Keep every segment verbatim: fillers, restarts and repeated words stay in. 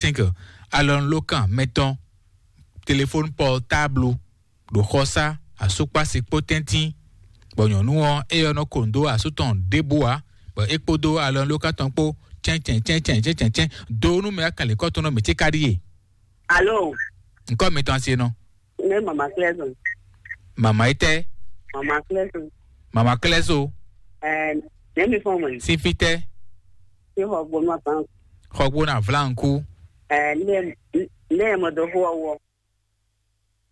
cinq, alɔnulókan mɛtɔn, téléphone portable, ɖo xɔsá, asúkpási kpó tɛ́ntín, bɔ nyɔ̌nu ɔ́, éyɛ́ nɔ ko nǔ dó asú tɔn ɖěbǔ ǎ, bɔ é kpódó alɔnulókan tɔn kpó cɛ́ncɛ́n cɛ́ncɛ́n cɛ́ncɛ́n cɛ́n dó nú mɛ akanlěkɔ́ tɔn nɔ mǐ ce ka ɖíe. Alo. Ŋkɔ́ mitɔn asi e nɔ. Ne mama klɛzo. Mama yi tɛ. Mama klɛzo. Mama klɛzo. Ɛɛ, ne mi fɔ mɔ. Sín fí tɛ. Fi xɔ gbɔnú aban. Xɔgbó na vlánkú. Ɛɛ, ne ne mɔ do xó ɔwɔ.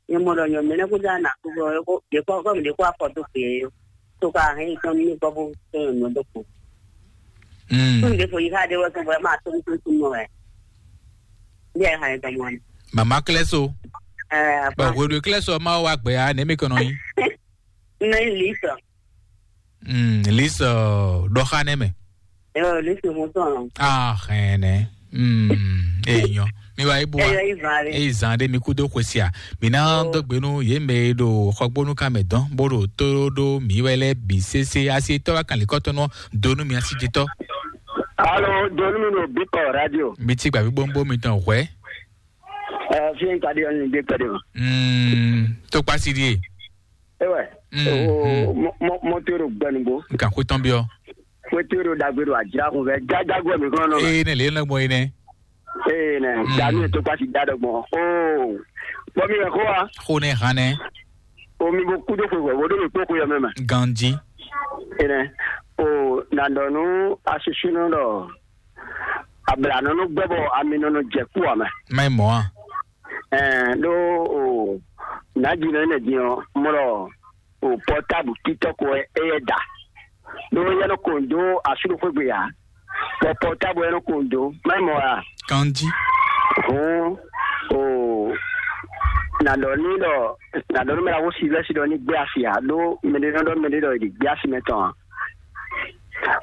Ne mɔ dɔ nyɔ mɛ ne kó dza na kó bɔ ko de kó ko de kó afɔ do fe yo. To ka hɛn tɔn mi kɔ bó tɔn nyɔ do ko. Mm. Tun de fo yi ka de wɔ to bɔ ma to to to mɔ ɛ. Bi ɛ hɛn tɔn mɔ. Mama klɛso. Ɛɛ, bɔn apa. Hweɖue klɛso ma wa gbɛ ya ne mi kɔnɔ yi. Ne li sɔ. Mm, lise ɖɔxa nɛ mɛ. Yo, lise mo tɔn. Ah, hɛnɛ. Mm, enyɔ. Mi wa ibu wa. Eyo, izan ɖe. Eyi zan ɖe mi kudo xwesia. Mi na dɔgbe nu ye mɛ ɖo xɔgbónu kan mɛ dɔn bó ɖo tó ɖó mi wɛ lɛ bi sese asi tɔ wa kan likɔtɔ nɔ donu mi asi jitɔ. Alo, donu mi ɖo bikɔ radio. Mi ti gbavi gbombo mi tɔn hwɛ. Ɛ, fi n ka di ɔni de pɛ de ma. Mm, to kpasi die. Ewɛ. Mm, o mm. Mo mo mo to ro gbɛnugbo. Nkan ko tɔn biɔ. Ko to ro dagbe ro ajira kun fɛ jajago mi kɔnɔ. Ee ne le lɔgbɔ yi nɛ. Ee ne. Mm. Dami to kpasi da dɔgbɔ. O bɔ mi yɛ ko wa. Ko ne han nɛ. O mi bo kudo ko ko wo do mi kpɔ ko yɛ mɛ ma. Ganji. Ee ne. O na dɔ nu asisunu dɔ. Abla nɔnɔ gbɛ bɔ ami nɔnɔ jɛ kú wa mɛ. Mɛ mɔ a. Ɛɛ ɖo o nàjinɔ ne din ɔ mlɔ o pɔtabu titɔ ko ɛ yɛ da ɖo yɛ nɔ ko do asúɖoxógbe ya bɔ pɔtabu yɛ nɔ ko do mɛ mɔ a. Kanji. Hɔn o nàdɔ ní dɔ nàdɔ ní mɛ la wo silvɛsi dɔ ní gbé asi ya ɖo mɛɖe nɔ dɔ mɛɖe dɔ yi di gbé asi mɛ tɔn a.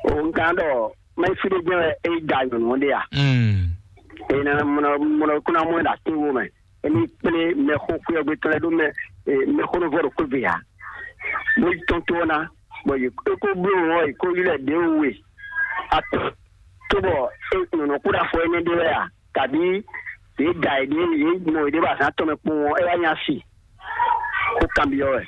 O nkan dɔ mɛ fi ɖé jɛ wɛ é da nyɔ̌nu ɔ́ ɖe a. Mm. Ena mɔnɔ mɔnɔ kó ná mɔ ɛ ɖo atín wo mɛ. Emi kplé mɛxó xwé ɔ́ gbé tɔn lɛ́ɛ ɖó mɛ mɛxó nɔ vɔ ɖo xwé ve a. Bó yi tɔn tó ɔ́ ná bɔ yě kó bló ɔ́ yě kó ylɔ́ ɛ ɖě we. Atɔ́ tó bɔ é nyɔ̌nu kó ɖo afɔ énɛ́ ɖé wɛ a kabí yě da yě ɖě yě mɔ yě ɖě bɔ azǎn tɔn mɛ kpowun ɔ́ é wá nya si. Xó kanbyɔ́ wɛ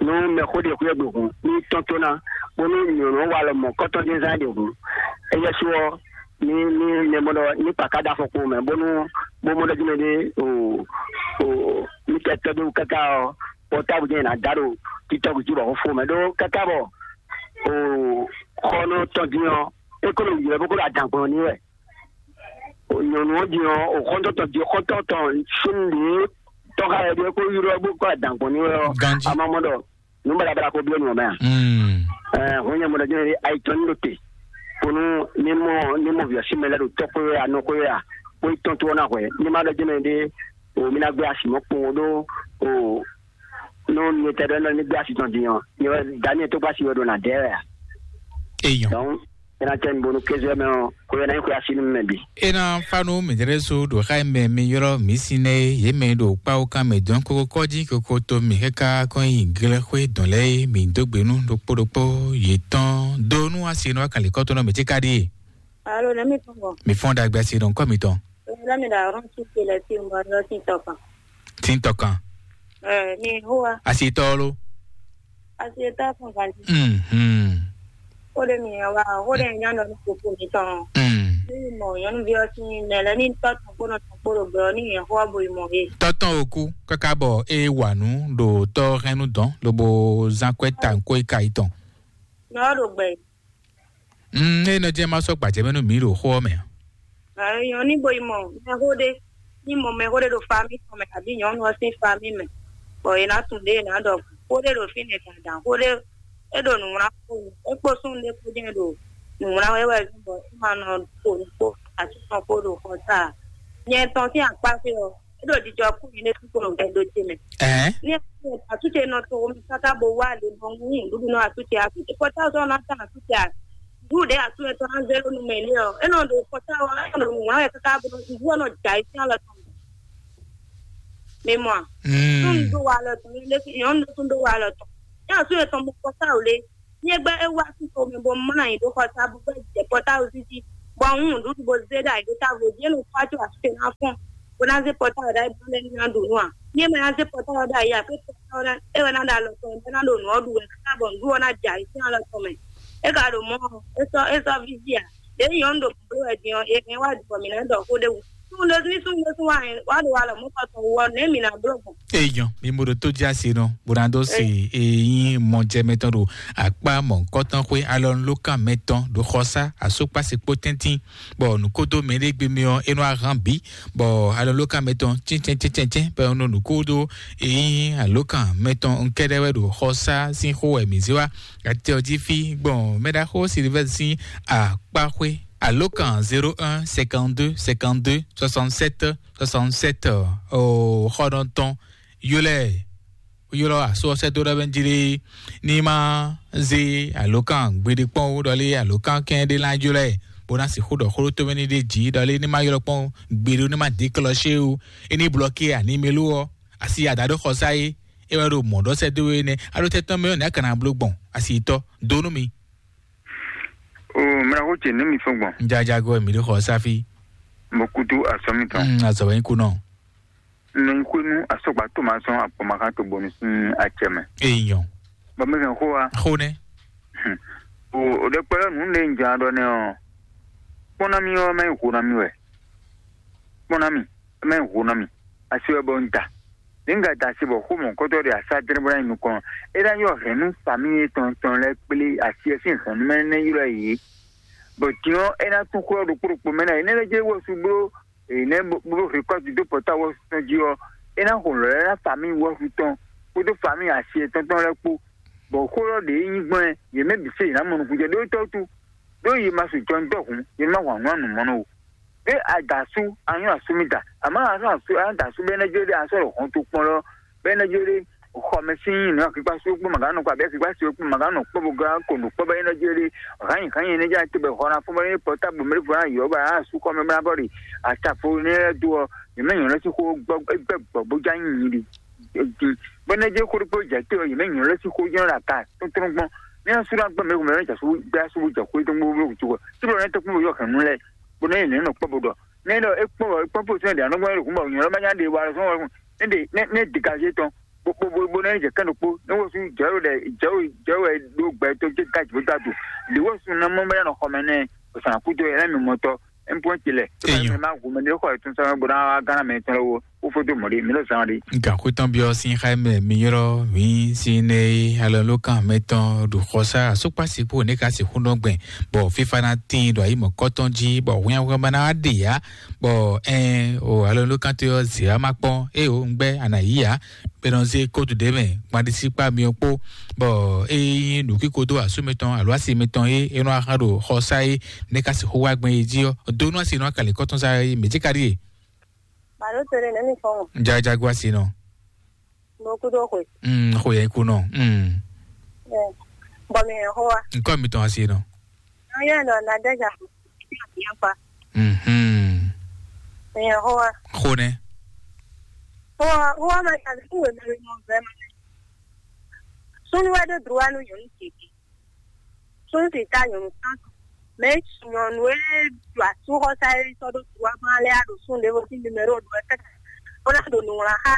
nú mɛxó ɖe xwé gbe hǔn ní tɔn tó ná bónú nyɔ̌nu wa lɔ mɔ kɔ́tɔ́ dín zán ɖe hǔn. Éyɛ́ sú ɔ́ ní ní mɛ mɔ ɖɔ ní kpakà ɖo afɔkpo mɛ bónú bó mɔ ɖɔ jí mɛ ɖé o o ní kɛ tɔ́ ɖó káká ɔ́ pɔtábu jɛ́n ná dá ɖo títɔ́ gǔ jí bɔ xó fó mɛ ɖó káká bɔ o xɔ nɔ tɔn dín ɔ́ é kó nɔ ylɔ́ bó kó ɖo adǎn gbɔn ní wɛ. Nyɔ̌nu ɔ́ din ɔ́, o xɔ́ntɔn tɔn din xɔ́ntɔn tɔn sin ɖě tɔ́ xa wɛ ɖíe kó ylɔ́ bó kó adǎn gbɔn ní wɛ ɔ́, Ganjí. A ma mɔ ɖɔ nǔ baɖabaɖa ko byɔ́ nǔ ɔ́ mɛ a? Mm. Ɛɛ, hɔn nyɛ mɔ ɖɔ jɛ́n ayi tɔn ní ɖo te, kónú ní mɔ ní mɔ vǐ ɔ́ sín mɛ lɛ́ɛ ɖo tɔ́ xwé wɛ a, nɔ xwé wɛ a, bó yi tɔn tó ɔ́ ná hwɛ, ní ma ɖɔ jɛ́n mɛ ɖé, o mi ná gbé asi mɔ̌ kpowun ɖó o nú mi tɛ ɖɔ ní gbé asi tɔn din ɔ́, nyɛ wɛ Daniel tó gbé asi wɛ ɖo nǎ dɛ wɛ a? Eyɔn. Donc, é ná tɛ́ mi bónú kéze mɛ ɔ́, xwé ná nyí xwé así nú mɛ bǐ. É ná fá nú mǐdɛ́ɖɛ́ sú ɖo xá e mɛ mi ylɔ́ mǐ sín nɛ́ é, yě mɛ e ɖo kpáwúkan mɛ dɔn kókó kɔ́ jí kokoto mǐ káká kɔn nyi glɛ́xwé dɔn lɛ́ɛ é, mǐ dó gbe nú ɖokpó ɖokpó yětɔn dó nú asi e nɔ wá kan lǐkɔ́tɔn nɔ mǐ cí ka ɖíe. Alo, nɛ̌ mi tɔn gbɔn? Mi fɔ́n ɖagbe asi ɖo ŋkɔ mitɔn. Alo, nɛ̌ mi ɖo ahɔ́n sú ce lɛ́ɛ tín bɔ nɔ tín tɔ kan? Tín tɔ kan. Ɛ, mi hó wa. Asi tɔ lo. Asi tɔ fún ganji. Mhm. Ó ɖe mi wa, ó ɖe nyɔnu ní kókó mi tɔn. Mm. Ní mɔ nyɔnuví ɔ́ sín mɛ lɛ ní tɔ tɔn kpó nɔ tɔn kpó ɖo gbɛ ɔ́ ní yɛn xó ɔ́ bo yi mɔ he. Tɔ tɔn oku káká bɔ é wà nú ɖo tɔ hɛn nú dɔn lobo zán kwɛ ta nkwó yi ka yi tɔn. Nɔ ɔ́ ɖo gbɛ. Mm, é nɔ jẹ́ má sɔ́ gbàjẹ́ mɛ nú mǐ ɖo xó ɔ́ mɛ. Ɛ, nyɔnu ní bo yi mɔ mɛxó ɖé, ní mɔ mɛxó ɖé ɖo fami tɔn mɛ, abǐ nyɔnu ɔ́ sín fami mɛ, bɔ è nǎ tunwun ɖě è nǎ ɖɔ xó ɖé ɖo fínɛ́ dandan, xó ɖé é ɖo nǔwlán kpó nu, é kpó súnnu ɖé kpó jɛ́n ɖo nǔwlán wɛ wɛ zɔ́n bɔ é ma nɔ to nǔ kpó asú tɔn kpó ɖo xɔ ta ǎ. Nyɛ tɔn sín akpá fí ɔ́, é ɖo jijɔ kú mi ɖésú kpo ɖo gbɛdo ce mɛ. Ɛɛ. Ní atúnṣe nɔ to omi káká bo wá lě bɔ ń hun nǔɖuɖu nɔ atúnṣe. Atúnṣe pɔtá sɔ́ ná tán atúnṣe à. Ɖu ɖě atúnṣe tɔn ná zé lónú mɛ lé ɔ́. É nɔ ɖo pɔtá ɔ́, é nɔ ɖo wǎn wɛ káká bo nɔ nǔɖu ɔ́ nɔ jà yi sín alɔ tɔn. Mi mɔ a? Mm. Tún do wa alɔ tɔn lé nyɔ̌nu tún do wa alɔ tɔn. Ní atúnṣe tɔn mo pɔtá ò lé. Nyɛ gbɛ é wá sí xomɛ bɔ mlá anyi ɖó xɔta bó gbɛ jɛ pɔtá ò sí jí. Bɔ un ɖu ɖu bo zé ɖa ɖo távo jí, e nɔ fá tó asúkè ná fɔ́n, bó ná zé pɔtáwɔ ɖa bó lɛ́ ná ɖu nú a? Ní e ma ná zé pɔtáwɔ ɖa yě a, pé pɔtáwɔ ɖa é wɛ ná ɖo alɔ tɔn bó ná ɖo nǔ ɔ́ ɖu wɛ káká bɔ nǔɖuɖu ɔ́ ná jɛ ayǐ sín alɔ tɔn mɛ. É ka ɖo mɔ̌ ɔ́, é sɔ́ é sɔ́ víví a? Ɖě nyɔ̌nu ɖo bǔbló wɛ din ɔ́, è hɛn wá ɖu bɔ mǐ ná ɖɔ xó ɖé wú. Súnnu ɖésú ní súnnu ɖésú wá hɛn wá ɖo alɔ mɔ̌ kɔ tɔn wú ɔ́, nɛ̌ mǐ ná bló gbɔn? Eyɔn, mi mo ɖo tó jɛ asi nɔ, bó ná dó se eyín mɔjɛmɛ tɔn ɖo akpá mɔ̌kɔtɔn xwé alɔnulókan mɛtɔn ɖo xɔsá asokpasi kpó tɛ́ntin, bɔ nǔkódó mɛɖé gbe mɛ ɔ́, é nɔ ahán bǐ, bɔ alɔnulókan mɛtɔn cɛ́ncɛ́ncɛ́ncɛ́, bɔ nɔ nǔkódó eyín alókan mɛtɔn nkɛ́ɖɛ́ wɛ ɖo xɔsá sín xó wɛ mǐ zé wá. Atɛ ɔ́ jí fí gbɔn mɛɖaxó Silivɛ́si sín akpá xwé. Alókan zéro un cinquante-deux cinquante-deux soixante-sept soixante-sept, o xɔɖɔntɔn, yó lɛ ylɔ́ asú ɔ́ sɛ́ dó ɖɔ bɛ́ jí lé, ní má zé alǒkan gbeɖé kpɔ́n ó, ɖɔ lé alǒkan kɛn ɖé ná jlɔ́ ɛ, bó ná sixú ɖɔ xó ɖó tómɛ ní ɖé jǐ, ɖɔ lé ní má ylɔ́ kpɔ́n gbeɖé ó, ní má dě klɔ́ xé ó, é ní blɔ́ ké animelo ɔ́, asi ada ɖó xɔsá é, é wɛ ɖo mɔ̌ ɖɔ sɛ́ dó é nɛ́. Á ɖó tɛ́ tɔn mɛ ɔ́, nɛ̌ a ka ná bló gbɔn asi tɔ́ dó nú mi? O mla ko ce ne mi fɔ gbɔn. Jajago mi ɖo xɔsá fí. Mo kutu asɔ mi tɔn. Mm, azɔ wɛ nyí kunɔ. Nɔ nyi xwenu asɔgba to ma sɔn akpɔmakan to bonu sin acɛ mɛ. Eyɔn. Bɔ mi hɛn xó wa. Xó nɛ. O o ɖe kpɛlɛ nu ne n jan ɖɔ nɛ ɔ. Kpɔn na mi ɔ mɛ ho na mi wɛ. Kpɔn na mi mɛ ho na mi. Asi wɛ bɔ n da. Ne n ka da asi bɔ xó mɔ kɔtɔ ɖe asa dre bɔ na yi nukɔn. E na yɔ hɛn nu fami etɔn tɔn lɛ kple asi ɛ sin hɛn nu mɛ ne ylɔ ye. Bɔ din ɔ e na tún xó ɔ ɖokpo ɖokpo mɛ na ye ne lɛ dze wɔ su blo. Eye nɛ́ bó bó rékɔ́ti dó pɔ́tawɔ tɔn jí ɔ́, é ná xo lɔ̌ lɛ́ɛ ná famíi wɔ́xu tɔn kpódó famíi asi yětɔn tɔn lɛ́ɛ kpó, bɔ xó ɔ́ ɖě nyí gbɔn ɛ, yě mɛ bǐ se yě ná mɔ nukúnjɛ ɖó tɔ́ wútu, ɖó yě ma su jɔnjɔ́hǔn, yě ma wa nǔ anǔmɔnɔ o. Ɖé a da asú, a nyɔ́ asú mi da, àmọ́ a sɔ́ asú, a da asú bɛ́ nɛ́ jó ɖé a sɔ́ ɖo hɔn to kpɔ́n lɔ, bɛ́ nɛ́ jó ɖé xɔmɛ sín nǔ akíkpá sú kpó màgá nɔ kɔ abǐ akíkpá sú kpó màgá nɔ kpɔ́ bó gán ko nǔ kpɔ́ bɛ́ nɛ́ jó ɖé hǎnyi hǎnyi nɛ́ já te bɛ xɔ ná fún bɔ ní pɔtáblu mɛ ɖěvo ná yɔ bɔ ná asú xɔmɛ bó ná bɔ ɖe atafo nɛ́ lɛ́ɛ dó ɔ, yě mɛ nyɔ̌ lɛ́ sí xó gbɔ gbɛ gbɔ bó já nyi nyi ɖi. Bɔ nɛ́ jẹ́ xó ɖokpó jɛ te ɔ, yě mɛ nyɔ̌ lɛ́ sí xó jɔ́n ɖo aka tɔntɔn gbɔn. Ní asú ná gbɛ mɛ mɛ jɛ asú gbɛ asú bó jɛ xó tɔn gbó bó tɔn gbó tí bɔ nɛ́ tɔkpɔn bó yɔ hɛn nú lɛ́ɛ bó nɛ́ yě nɛ́ nɔ kpɔ́ bó ɖɔ nɛ́ ɖɔ é kpɔ́n bɔ é kpɔ́n fó sɛn ɖě anɔgbɔn ɖo kún bɔ nyɔ̌ lɔ má nya ɖe wa lɔ sɔn wɛ nɛ́ ɖe nɛ́ nɛ́ dégazé tɔn bó bó bó nɛ́ jɛ kɛ́n ɖokpó nɛ́ wosú jɛ̌ ɖo ɖɛ jɛ̌ wɛ jɛ̌ wɛ ɖó gbɛ tó jɛ gájì bó dó adu lě wosú ná mɔ bɛ́ nɔ xɔmɛ nɛ́ osàn kúdó ɛ lɛ́ mi mɔtɔ ɛnpɔn ti lɛ Eyɔn. Má hu mɛ ɖé xɔ ɛtún sɔmɛ bó ná wá gánà mɛ tɔn lɔwọ́ ó fó dó mɔ̌ ɖé mi lɔ zán ɖé. Gǎnxwétɔn byɔ́ sín xá mɛ mi ylɔ́ mǐ sín nɛ́ alɔlókan mɛtɔn ɖo xɔsá asúkpásíkpó ní ka sixú nɔ gbɛn bɔ fífá ná tíin ɖo ayǐ mɔ̌kɔ́tɔn jí bɔ hwɛ́nhwɛ́n ma ná wá ɖe ǎ. Bɔ ɛn o alɔlókantɔ́ ɔ́ zě wá má kpɔ́n é o un gbɛ́ a nǎ yí ǎ. Bɛ nɔ zé kótu ɖě mɛ gbaɖisíkpá myɔ kpó, bɔ ényí nǔkíko dó asú mitɔn alo asi mitɔn é é nɔ axán ɖo xɔ sá é, nɛ́ ka sixú wá gbɛn é jí ɔ́, dó nú asi nɔ akalǐ kɔ́tɔn sá é mǐ cí ka ɖíe. Bàdó tere nɛ̌ mi fɔ́n o. Jajago asi nɔ. Mo kú dó xwe. Mm, xwe yɛ kú nɔ. Mm. Ɛ, bɔ mi hɛn xó wa. Nkɔ mitɔn asi nɔ. Ayé nɔ na dɛja. Yakpa. Mhm. Mi hɛn xó wa. Xó nɛ. Xó wa, xó wa ma ta kú wɛ mɛ mɔ vɛ ma. Sunu wa de droit nu yɔnu tete. Sunu ti ta yɔnu santo. Mais nyɔnu e ɖo asúxɔsa e sɔ́ ɖó droit ma lɛ́ɛ a ɖo sun ɖěvo sín numéro ɖo ɛ kɛta. Bó ná ɖo nǔwlán xá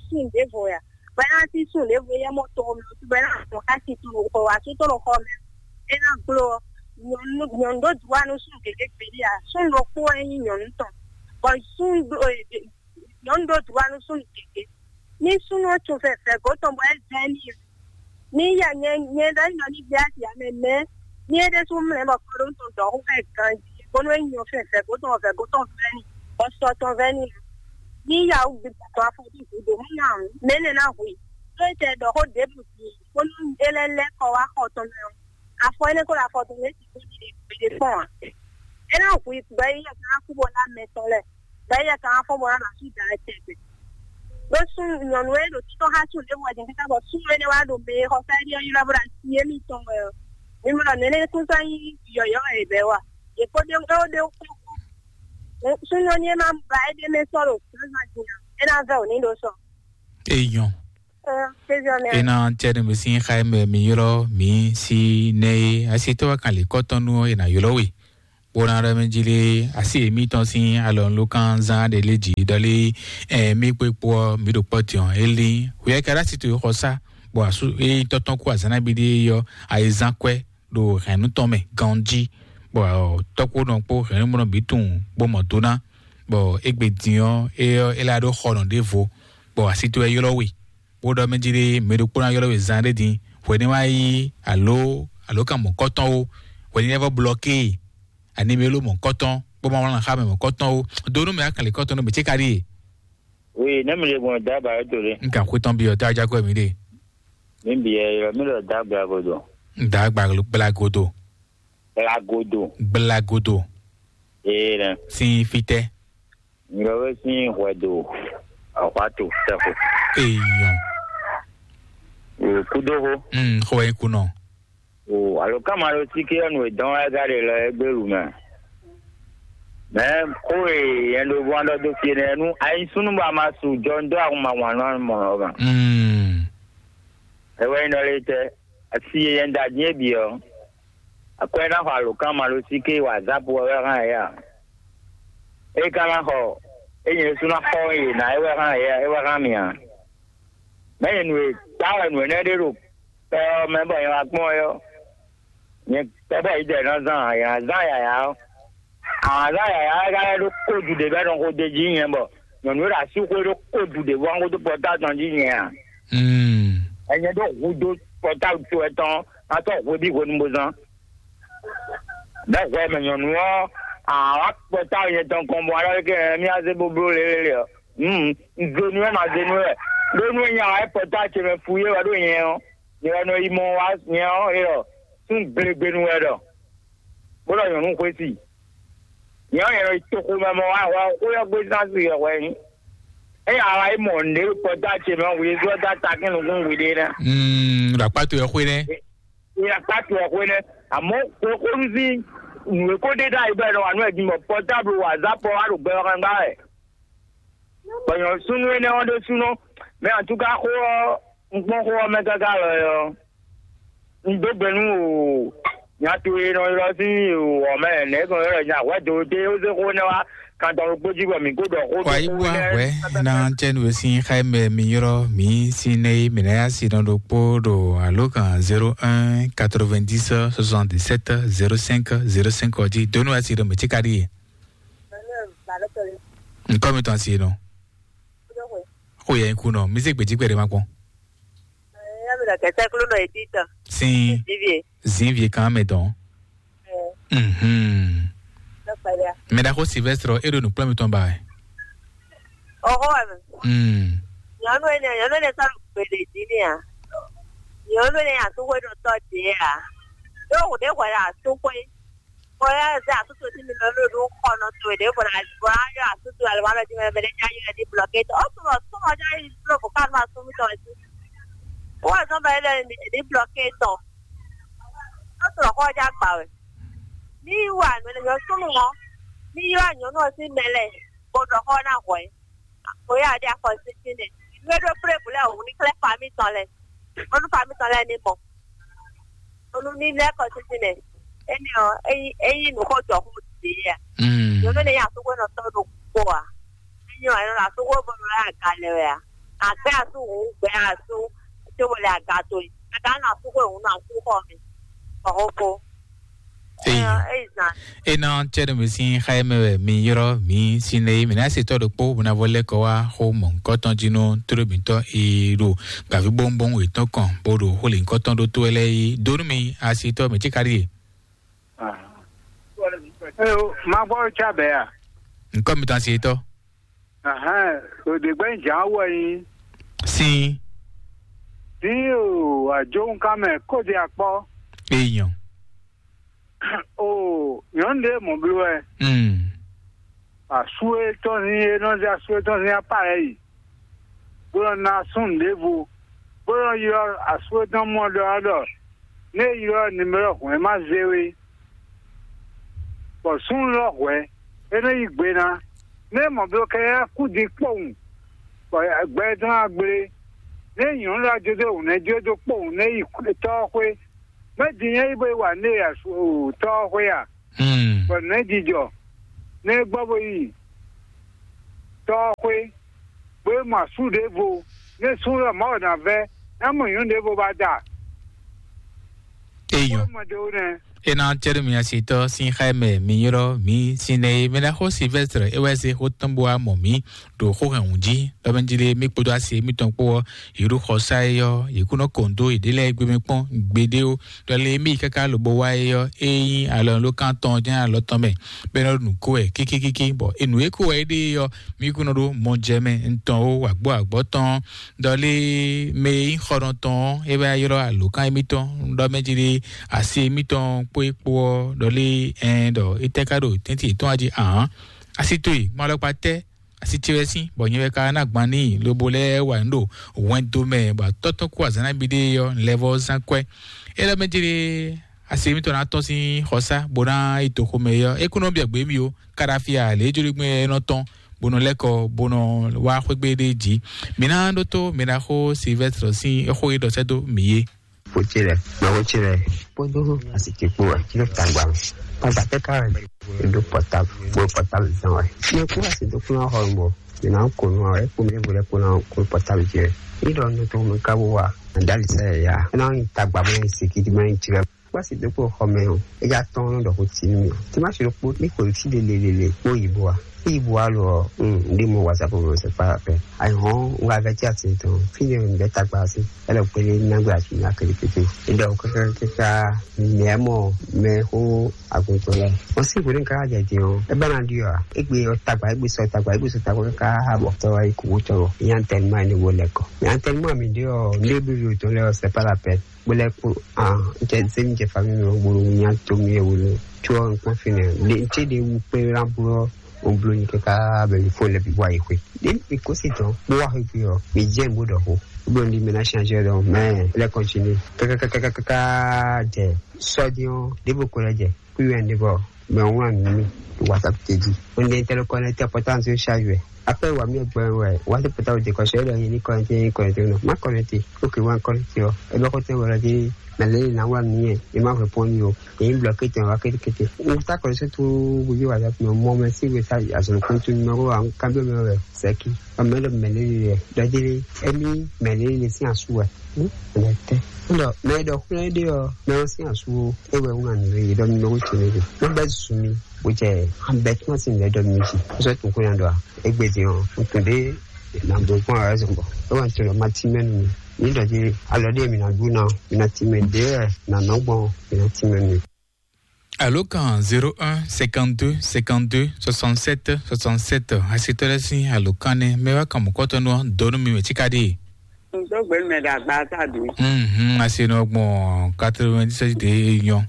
sun ɖěvo ya. Bɔ é ná sí sun ɖěvo yɛ mɔ tɔn mɛ, bɔ é ná mɔ xá si tɔn ɖo xɔ wá sú tɔn ɖo xɔ mɛ. É ná gbló ɔ́, nyɔnu nyɔnu ɖó droit nú sun gěgé gbeɖé a. Sun ɖokpó wɛ nyí nyɔnu tɔn. Bɔ sun ɖó nyɔnu ɖó droit nú sun gěgé. Ní súnnu ɔ́ tun fɛfɛ gǒ tɔn bɔ é zɛ n'i. Ní ya nyɛ nyɛ ɖɔ nyɔ ní gbé asi ame mɛ. Ní é ɖésú mlɛ́ bɔ kɔɖó tɔn dɔ̌ xó fɛ ganjí, bónú é nyɔ fɛfɛ gǒ tɔn fɛ gǒ tɔn vɛ́ n'i, bɔ sɔ tɔn vɛ́ n'i. Ní ya wú gbe tɔn afɔ bí gǔdo mú nya ɔ́, mɛ énɛ́ ná hu i. Ɖó é tɛ ɖɔ xó ɖěbǔ din, bónú é lɛ́ lɛ́ kɔ wá xɔ tɔn mɛ ɔ́, afɔ énɛ́ kó ɖo afɔ tɔn mɛ é sixú ɖi ɖě kpɔ́n ǎ. É ná hu i bɔ é yɛ ká kú bɔ ná mɛ tɔn lɛ, bɔ é yɛ ká fɔ bɔ ná nɔ asú da lɛ tɛgbɛ. Ɖó súnnu nyɔ̌nu e ɖo títɔ́ xá súnnu ɖěvo wɛ din káká bɔ súnnu énɛ́ wá ɖo mɛ e xɔ fɛ́ ɖi ɔ́ ylɔ́ bó ɖo asi émítɔn wɛ ɔ́. Mi mɔ ɖɔ nɛ̌nɛ́ kún sɔ́ nyí yɔ̌yɔ́ wɛ è bɛ̌ wa. Yě kó ɖe ó ɖe ó kpó kú. Súnnu ɔ́ ní é má ba éɖée mɛ sɔ́ ɖo zǎnzǎn din ǎ, é ná vɛ́ wǒ ní ɖó sɔ. Eyɔn. Ɛ, kéziɔ nɛ. Ena tiɛ ne mi sin xa mɛ mi ylɔ mi si ne asi tɔ wa kan le kɔtɔn nu ena ylɔ we. Bó ná ɖɔ mɛ jí lé, asi yěmítɔn sín alɔnulókan zán ɖé lé jǐ ɖɔ lé, ɛ, mí kpé kpó ɔ́, mǐ ɖo kpɔ́ din ɔ́, é lín. Hwɛ ka ɖó asi towe xɔ sá, bɔ asú é tɔ́tɔ́n kú azǎn nabí ɖé ɔ́, ayizán kwɛ́ ɖo hɛ̌nnu tɔn mɛ ganjí, bɔ tɔ́kpónɔ kpó hɛ̌nnumɔnɔ bǐ tunwun bó mɔ do ná, bɔ égbé din ɔ́, é ɔ́, é lá ɖó xɔnɔ ɖěvo, bɔ asi towe ylɔ́ we. Bó ɖɔ mɛ jí ɖé, mɛ ɖokpó ná ylɔ́ we zan ɖé din, hwɛ̌ ní wá yí alo alo kan mɔ̌kɔ́tɔn ó, hwɛ̌ ní lɛ́ vɔ blɔké e, ani mɛ ló mɔ̌kɔ́tɔn, bó ma wlán xá mɛ mɔ̌kɔ́tɔn ó. Do nú mɛ akanlekɔ́tɔn nú mɛ cé ka ɖíe? Oui, ne mi le gbɔn da ba do le. N kan xwé tɔn byɔ tá a já kɔ mǐ ɖe. Mi bi yɛ mi lɔ da gba godo. Da gba gbla godo. Gba godo. Gbla godo. Ee nɛ. Sin fitɛ. Nyɔwe sín hwɛdo ɔxɔatu tɛxo. Eyɔn. Kudoho. Mm, xɔ wɛ kunɔ. O alo kama lo sike ɔnu edɔn wɛ ga de lɔ egbe lu mɛ. Mɛ ko e yɛn do bɔn dɔ do fie nɛ nu ayi sunu ba ma su jɔ ndo ahun ma wan nɔ mɔ ma. Mm. Ewe nɔ le tɛ asi yɛn da din ebi ɔ. Akwɛ ná xɔ alǒkan malosíké wazap wɛ wɛ hán yě a? É ka ná xɔ é nyɛ sú ná xɔ yě ná é wɛ hán yě a? É wɛ hán mì a? Mɛ nyɛ nǔ e ta wɛ nǔ énɛ́ ɖé ɖo kpɛ ɔ́ mɛ bɔ nyɛ wá kpɔ́n é ɔ́, nyɛ kpɛ bɔ yi dɛ ná zán a? Yě ná zán yǎyá ɔ́. Àwọn azán yǎyá wɛ ka lɛ́ ɖó kódu ɖě bɔ é nɔ xo d'é jí nyɛ bɔ nyɔ̌nu e ɖo asíxwé ɖó kódu ɖě bɔ ɔ́ xódó pɔtáa tɔn jí nyɛ a? Mm. Ɛnyɛ ɖó hudó pɔtáa to ɛtɔn ná tɔ́ hweví hwenu bó zán. Bɛ́ hwɛ mɛ nyɔ̌nu ɔ́, àwa kpɔtá nyɛ tɔn kɔn bɔ alɔ kɛ mí azé bóbló lélélé ɔ́. Un zenu wɛ ma zenu wɛ. Ɖó nú nya wá kpɔtá ce mɛ fu yé wɛ ɖó nyɛ ɔ́, nyɛ wɛ nɔ yi mɔ wá nyɛ ɔ́ é ɔ́, sún glegbenu wɛ ɖɔ. Bó ɖɔ nyɔ̌nu xwé si. Nyɛ ɔ́, nyɛ nɔ yi toxo mɛ mɔ wá wá xó yɔ gbé zán si yɔ hwɛ nyí. Eye àwa yi mɔ nǔɖé kpɔtá ce mɛ hu yé zɔ́ dá takín nukún hwi ɖé ná. Mm, ɖo akpá towe xwé nɛ́. Ìyá kpákpɛ ɔ̀xwé nɛ́, àmọ́ xwexónú sín nǔ e ko ɖe ɖ'ayǐ bɔ è nɔ wa nǔ wɛ din bɔ pɔtáblu wazapɔ wá ɖo gbɛ ɔ́ hɛn gbá wɛ. Bɔ nyɔ̌súnú énɛ́ ɔ́ ɖésúnɔ, mɛ atúká xó ɔ́, un kpɔ́n xó ɔ́ mɛ káká lɔ ɔ́, un dó gbe nú o nya towe e nɔ ylɔ́ sín o ɔ̌ mɛ nɛ̌ gbɔn ylɔ́ nya hwɛ̌ do dé ó zé xó énɛ́ wá kan tɔn ɖokpó jí bɔ mǐ kó ɖɔ xó Wàyí wá hwɛ̌ ná jẹ́ nu e sín xá mɛ mi yrɔ́ mǐ sín nɛ́ mǐ ná yá si nɔ ɖokpó ɖo alǒkan zéro un quatre-vingt-dix soixante-dix-sept zéro cinq zéro cinq ɔ́ jí. Donu asi ɖo mɛ̌ cí ka ɖíe? Ŋkɔ mi tɔn asi nɔ. Xo yɛ nyi ku nɔ, mi zé gbèjí gbɛɖe ma kpɔn. Sin. Zin vie kan mɛ dɔn. Mhm. Mɛ ɖaxó Sylvestre, e ɖo nǔkplɔ́n mitɔn ba wɛ. Oxo wɛ mɛ. Mm. Nyɔnu ene, nyɔnu ene sɔ́ ɖo gbede jí n'i a? Nyɔnu ene asúxwé ɖo tɔ́ ɖě a? Ɖó hǔn ɖé hwɛ ɖo asúxwé. Bɔ yɛ zɛ asúxwé sí mi lɔ ló ɖó xɔ nɔ towe ɖě bɔ na bɔ na yɔ asúxwé alɔ ma lɔ jí mɛ mɛ ɖé já yɔ ní blɔké tɔ. Ó sɔmɔ sɔmɔ já yi blɔ bɔ ká ma sún mi tɔ jí. Ó wà sɔmɔ yɛ lɛ ní blɔké tɔ. Ó sɔmɔ kɔ já gbà wɛ. Ní wà nɔ lɛ yɔ súnmù ɔ. Ní yɔ nyɔnu ɔ sí mɛ lɛ. Bɔ ɖɔ xɔ na hwɛ. Oya ɖe afɔ sisi nɛ. Nue ɖo pré bu lɛ o ní klɛ fami tɔn lɛ. Onu fami tɔn lɛ ní mɔ. Onu ní lɛ kɔ sisi nɛ. Eni ɔ eyi eyi nu xɔ jɔ xɔ ti ya. Mm. Yɔ ne ya sugo nɔ tɔ ɖo kpo a. Enyi ɔ enɔ la sugo bɔ nɔ ya ga lɛ wɛ a. Agbɛ asu hu gbɛ asu. Tso wòle aga to yi. Aga na sugo hu na su xɔ mi. Ɔhɔn ko. Eyi. Ena cɛɖome sín xá e mɛ wɛ mi yrɔ́ mi sín lé mi ná se tɔ́ ɖokpó bó ná vɔ lɛ́ kɔ wá xó mɔ̌hunkɔtɔn jí nú tóɖómítɔ́ e ɖo gbǎví bóŋbóŋ wětɔn kɔn bó ɖo xó lěhunkɔtɔn ɖó tó wɛ lɛ́ɛ yi dó nú mi asitɔ́ mɛ cíkaɖíe. Eo, ma gbɔ ca bɛ a? Ŋkɔ mitɔn asitɔ́. Ahɛn, òdè gbɛ́ jǎn wɔ nyi. Sin. Dín o àjòhúnkámɛ kóde akpɔ. Èèyàn. O nyɔ̌nu ɖé mɔ̌ bló wɛ. Mm. Asú e tɔn sín e nɔ zé asú e tɔn sín apá lɛ́ɛ yi, bó nɔ ná súnnu ɖěvo, bó nɔ ylɔ́ asú e tɔn mɔ ɖɔ ɔ́ ɖɔ: "Nú é ylɔ́ nimero hwɛ̌n ma zé we." Bɔ súnnu lɔ hwɛ̌, é nɔ yí gbe ná. Nú é mɔ bló kɛ́ɖɛ́ kú din kpowun, bɔ gbɛ tɔn ná gblé. Nú é nyɔ̌nu lɔ jó dó hǔn nɛ́ jó dó kpowun nú é yi tɔ́ ɔ́ xwé. Mɛ̌ din nyɛ yi bó yi wa nú é tɔ́ ɔ́ xwé a? Hmm. Bɔ nɛ̌ jijɔ nɛ́ gbɔ bó yi tɔ́ ɔ́ xwé, bó yi mɔ asú ɖěvo, nɛ́ sú ɖɔ Mawu ná vɛ́, ná mɔ nyɔ̌nu ɖěvo ba da. Eyɔn. Mɔ ɖěvo nɛ́. Ena cɛɖo mi asitɔ sin xa mɛ mi yrɔ mi sin nɛ e mɛ na xo Sylvestre e wɛ se xo tɔn bo wa mɔ mi ɖo xó hɛn wun jí. Lɔmɛjili mi kpódó asi mi tɔn kpó ɔ, yě ɖo xɔ sa e ɔ, yě kú nɔ kɔn dó yě ɖe lɛ́ɛ gbé mi kpɔn gbeɖé o. Ɖɔ lé mi káká lobo wá é ɔ́, é nyí alɔnulókan tɔn jɛ́n alɔ tɔn mɛ, bɔ é nɔ ɖo nǔ ko wɛ kíkíkíkí, bɔ è nǔ e ko wɛ é ɖe é ɔ́, mí kún nɔ ɖó mɔjɛmɛ ntɔn ó, wǎgbó wǎgbó tɔn. Ɖɔ lé mɛ e nyí xɔnɔtɔn ɔ́, é wá ylɔ́ alǒkan émítɔn, ɖɔ mɛ jí ɖé asi émítɔn kpó é kpó ɔ́, ɖɔ lé ɛn ɖɔ é tɛ́ ká ɖo tɛ́ntin yětɔn wá jí ahǎn. Asi towe, mɔ alɔkpa tɛ́, asi ce wɛ sín, bɔ nyɛ wɛ ka ná gban n'i, lobo lɛ́ wa nǔ ɖo hwɛndo mɛ, bɔ atɔ́ tɔn kú azǎn nabí ɖé ɔ́, lɛ́ vɔ́ zán kwɛ́. É ɖɔ mɛ jí ɖé asi émítɔn ná tɔ́n sín xɔsá, bó ná yi toxo mɛ é ɔ́, é kún nɔ byɔ̌ gbě mì ó. Káɖáfíà lě jló gbɛn é nɔ tɔn, bó nɔ lɛ́ kɔ, bó nɔ wá xwé gbe ɖé jí. Mǐ ná ɖótó mǐ ná xó Silvɛ́str sín xó e ɖɔ sɛ́ dó mǐ é. Xó ce lɛ, mɛ xó ce lɛ kpódó asi ce kpó wɛ, ci ɖo tagba mɛ. Tagba tɛ ká wɛ, ɖo pɔtabu, kpó pɔtabu zan wɛ. Mɛ kú asi dó kplɔ́n xɔ mɔ, mǐ ná kó nú wɛ, kpó mɛ vo lɛ kpó ná kó pɔtabu ce wɛ. Ní ɖɔ nú tó mɛ ká bó wa, ná dali sɛ ya. Ná nyi tagba mɛ, sikidi mɛ, ci lɛ. Kpasi dó kpó xɔ mɛ o, é já tɔn nɔ ɖɔ xó tsi nú mì o. Tí má ṣe ɖokpó ní kò sí lelelele kpó yìí bó wa. Tí yìí bó wa lɔ ɔ, un ɖé mɔ whatsapp mɔ sɛ kpá pɛ. Ayi hɔn un wá vɛ tí a ti tɔn. Fí ne un bɛ tagba sí. Ɛlɛ kpélé nágbé àti ní akéré kété. Ìdá o káká káká mɛ mɔ mɛ xó aguntɔ lɛ. Wọ́n sì wòlé ká jẹ jẹ o. Ẹ bá na di ọ. Egbe ọ tagba, egbe sọ tagba, egbe sọ tagba káká bọ̀. Tọ́wá ikú wó tọrọ. Ìyá ń tẹnu mọ́ ẹni wo lẹ́kọ̀ọ́. Ìyá ń tẹnu mọ́ mi dé ọ. Ndé bí yóò tó lẹ́ ọ sẹ́ pá la pẹ́. Bó lɛ́ kpó a jɛ zé mi jɛ famille mɛ bó nya to mi wolo tso ɔ nukpɔn fi nɛ le n tse de wu kpe la blo o blo nyi kaka bɛ mi fo lɛ bi wa yi xwe de mi ko si tɔn kpó wa xwe fi ɔ mi jɛ n bó dɔ xo blo ndi mi na change dɔ mɛ lɛ continue kaka kaka kaka jɛ sɔdiɔn de bo ko lɛ jɛ kuyɔn de bɔ mɛ ŋlɔ mi whatsapp te di o ne tɛlɛ kɔ ne tɛ pɔtance charge wɛ. Après wa mi gbɛ wɛ wa se pɔtable de kɔsɔ e lɛ ni kɔnɛte ni kɔnɛte nɔ ma kɔnɛte. Ok wa kɔnɛte ɔ e bɛ kɔtɛ wɛ lɛ di mɛ lɛ na wa mi yɛ e ma fɛ pɔn ni o e ni bloqué tɛ wa kétékété. N ta kɔnɛte to gbogbo wa datu mɛ mɔ mɛ si wɛ sa azɔn kɔntu numéro wa kan bi mɛ wɛ sɛki ɔ mɛ lɛ mɛ lɛ lɛ dɔ di lɛ emi mɛ lɛ lɛ si asu wɛ. Mɛ tɛ ndɔ mɛ dɔ xlɛ de ɔ mɛ si asu o e wɛ wuna ni lɛ dɔ numéro tɛ lɛ de. Mo bɛ zun mi. Bó jẹ́ abẹ́túmọ̀sí lẹ́dọ̀ méjì ó sọ tó kúrò lọ égbèdì hàn ntòdé nàgbọ̀gbọ̀n ọ̀rẹ́ zọ̀bọ̀ ó wà nítorí ọmọ tí mẹ́nu mi nídọ̀dí alọ́dé mi nàgbó náà mi nà tí mẹ́ dé ẹ̀ nànà gbọ́n mi nà tí mẹ́nu mi. Alo kan zéro un cinquante-deux cinquante-deux soixante-sept soixante-sept. Asitɔlɛ sin alo kan ne mɛ wa kan mɔkɔtɔ nɔ dɔnu mi mɛ cikadi. Ŋdɔgbe mɛ ɖe agba ta do. Mhm, asi nɔ gbɔn quatre-vingt-dix-sept de nyɔ.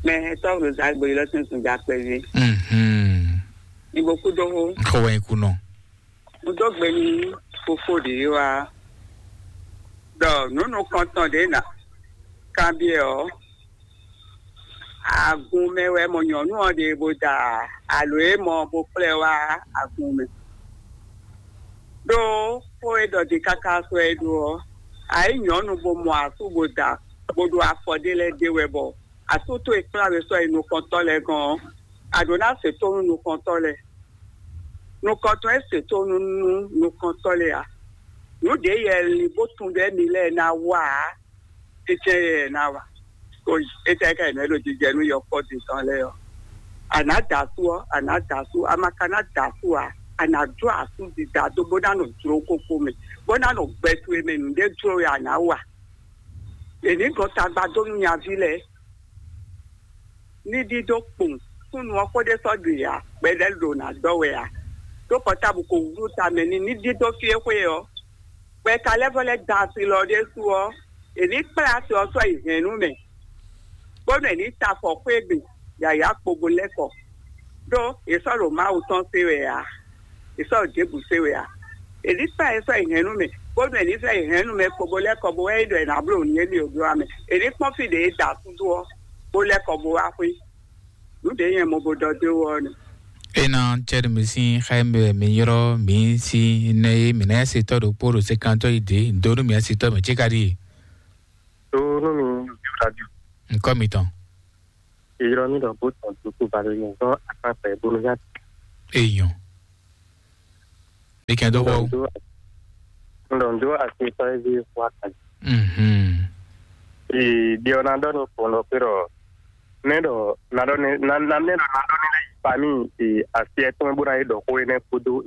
Mɛ tɔgbe zagbe lɔ tun tun ja kpɛvi. Mhm. Ibo kudo ho. Xɔ wɛ kunɔ. Ŋdɔgbe ni fofo de wa. Dɔ nunu kɔntɔn de na. Kanbiɛ ɔ. Agun mɛ wɛ mɔ nyɔnu ɔ ɖe bo da alo e mɔ bo kplɛ wá agun mɛ. Ɖó xó e ɖɔ ɖi káká sɔ é ɖó ɔ́, ayǐ nyɔ̌nu bo mɔ asú bo da bo ɖo afɔ ɖé lɛ́ɛ ɖe wɛ bɔ asú towe kplá we sɔ́ yi nukɔntɔ́ lɛ́ɛ gɔ́n ɔ́, a ɖǒ ná se tónú nukɔntɔ́ lɛ́ɛ. Nukɔntɔ́ e se tónú nú nukɔntɔ́ lɛ́ɛ ǎ. Nǔ ɖě yɛ lin bó tunwun ɖɔ émí lɛ́ɛ ná wa ǎ, é jɛ́n yɛ ná wa. Ko étɛ́ ká è nɔ é ɖo jijɛ nú yɔkpɔ́ din tɔn lɛ́ɛ ɔ́? A nǎ da asú ɔ́, a nǎ da asú, a ma ka ná da asú ǎ, a nǎ jó asú dida dó bó ná nɔ jló kókó mɛ, bó ná nɔ gbɛ towe mɛ nǔɖé jló wɛ a nǎ wa. È nǐ gɔn tagba dó nú nyaví lɛ́ɛ. Ní ɖíɖó kpowun súnnu ɔ́ xó ɖé sɔ́ ɖu ǎ, gbɛɖɛ́ ɖo ná dɔ́ wɛ ǎ. Ɖó pɔtábu ko wlú tamɛ n'i ní ɖíɖó fí e xwé ɔ́. Bɔ è ka lɛ́ vɔ́ lɛ́ da asi lɔ ɖésú ɔ́, è nǐ kplá asi ɔ́ sɔ́ yi hɛ̌nnu mɛ, bónú è nǐ ta afɔ xwé gbe yǎyá kpo bo lɛ́ kɔ. Ɖó è sɔ́ ɖo Mawu tɔn sé wɛ ǎ, è sɔ́ ɖo Jebu sé wɛ ǎ. È nǐ kplá ɛ sɔ́ yi hɛ̌nnu mɛ, bónú è nǐ sɔ́ yi hɛ̌nnu mɛ kpo bo lɛ́ kɔ bo wɛ é ɖɔ è nǎ bló nǔ émí ɖo bló ɔ́ mɛ. È nǐ kpɔ́n fí ɖě e da asú dó ɔ́, bó lɛ́ kɔ bo wá xwé. Nǔ ɖě nyɛ mo bo ɖɔ dó wɔ ɔ́ nɛ. Ena cɛɖi mi sín xá mi wɛ mi yrɔ mi sín nɛ e mi nɛ se tɔ ɖokpó ɖo sekantɔ yi dě do nú mi asi tɔ mɛ cé ka ɖi. Tó nú mi radio. Nkɔ mi tɔn. Ylɔ́ mì ɖɔ bó tɔn dúkú balóyún dɔn akpákpɛ bónú yá. Èèyàn. Ní kí n tó kọ́. Ǹdɔ ǹdó àti ìtọ́ ẹbí wa kan. Mhm. Ìdí ọ̀nà dọ́ni kò lọ pé rọ̀. Nẹ́dọ̀ nadọ́ni nanẹ́dọ̀ nadọ́ni lẹ́yìn pamí àti ẹ̀tún bó náà yé dọ̀ kó yẹn kódó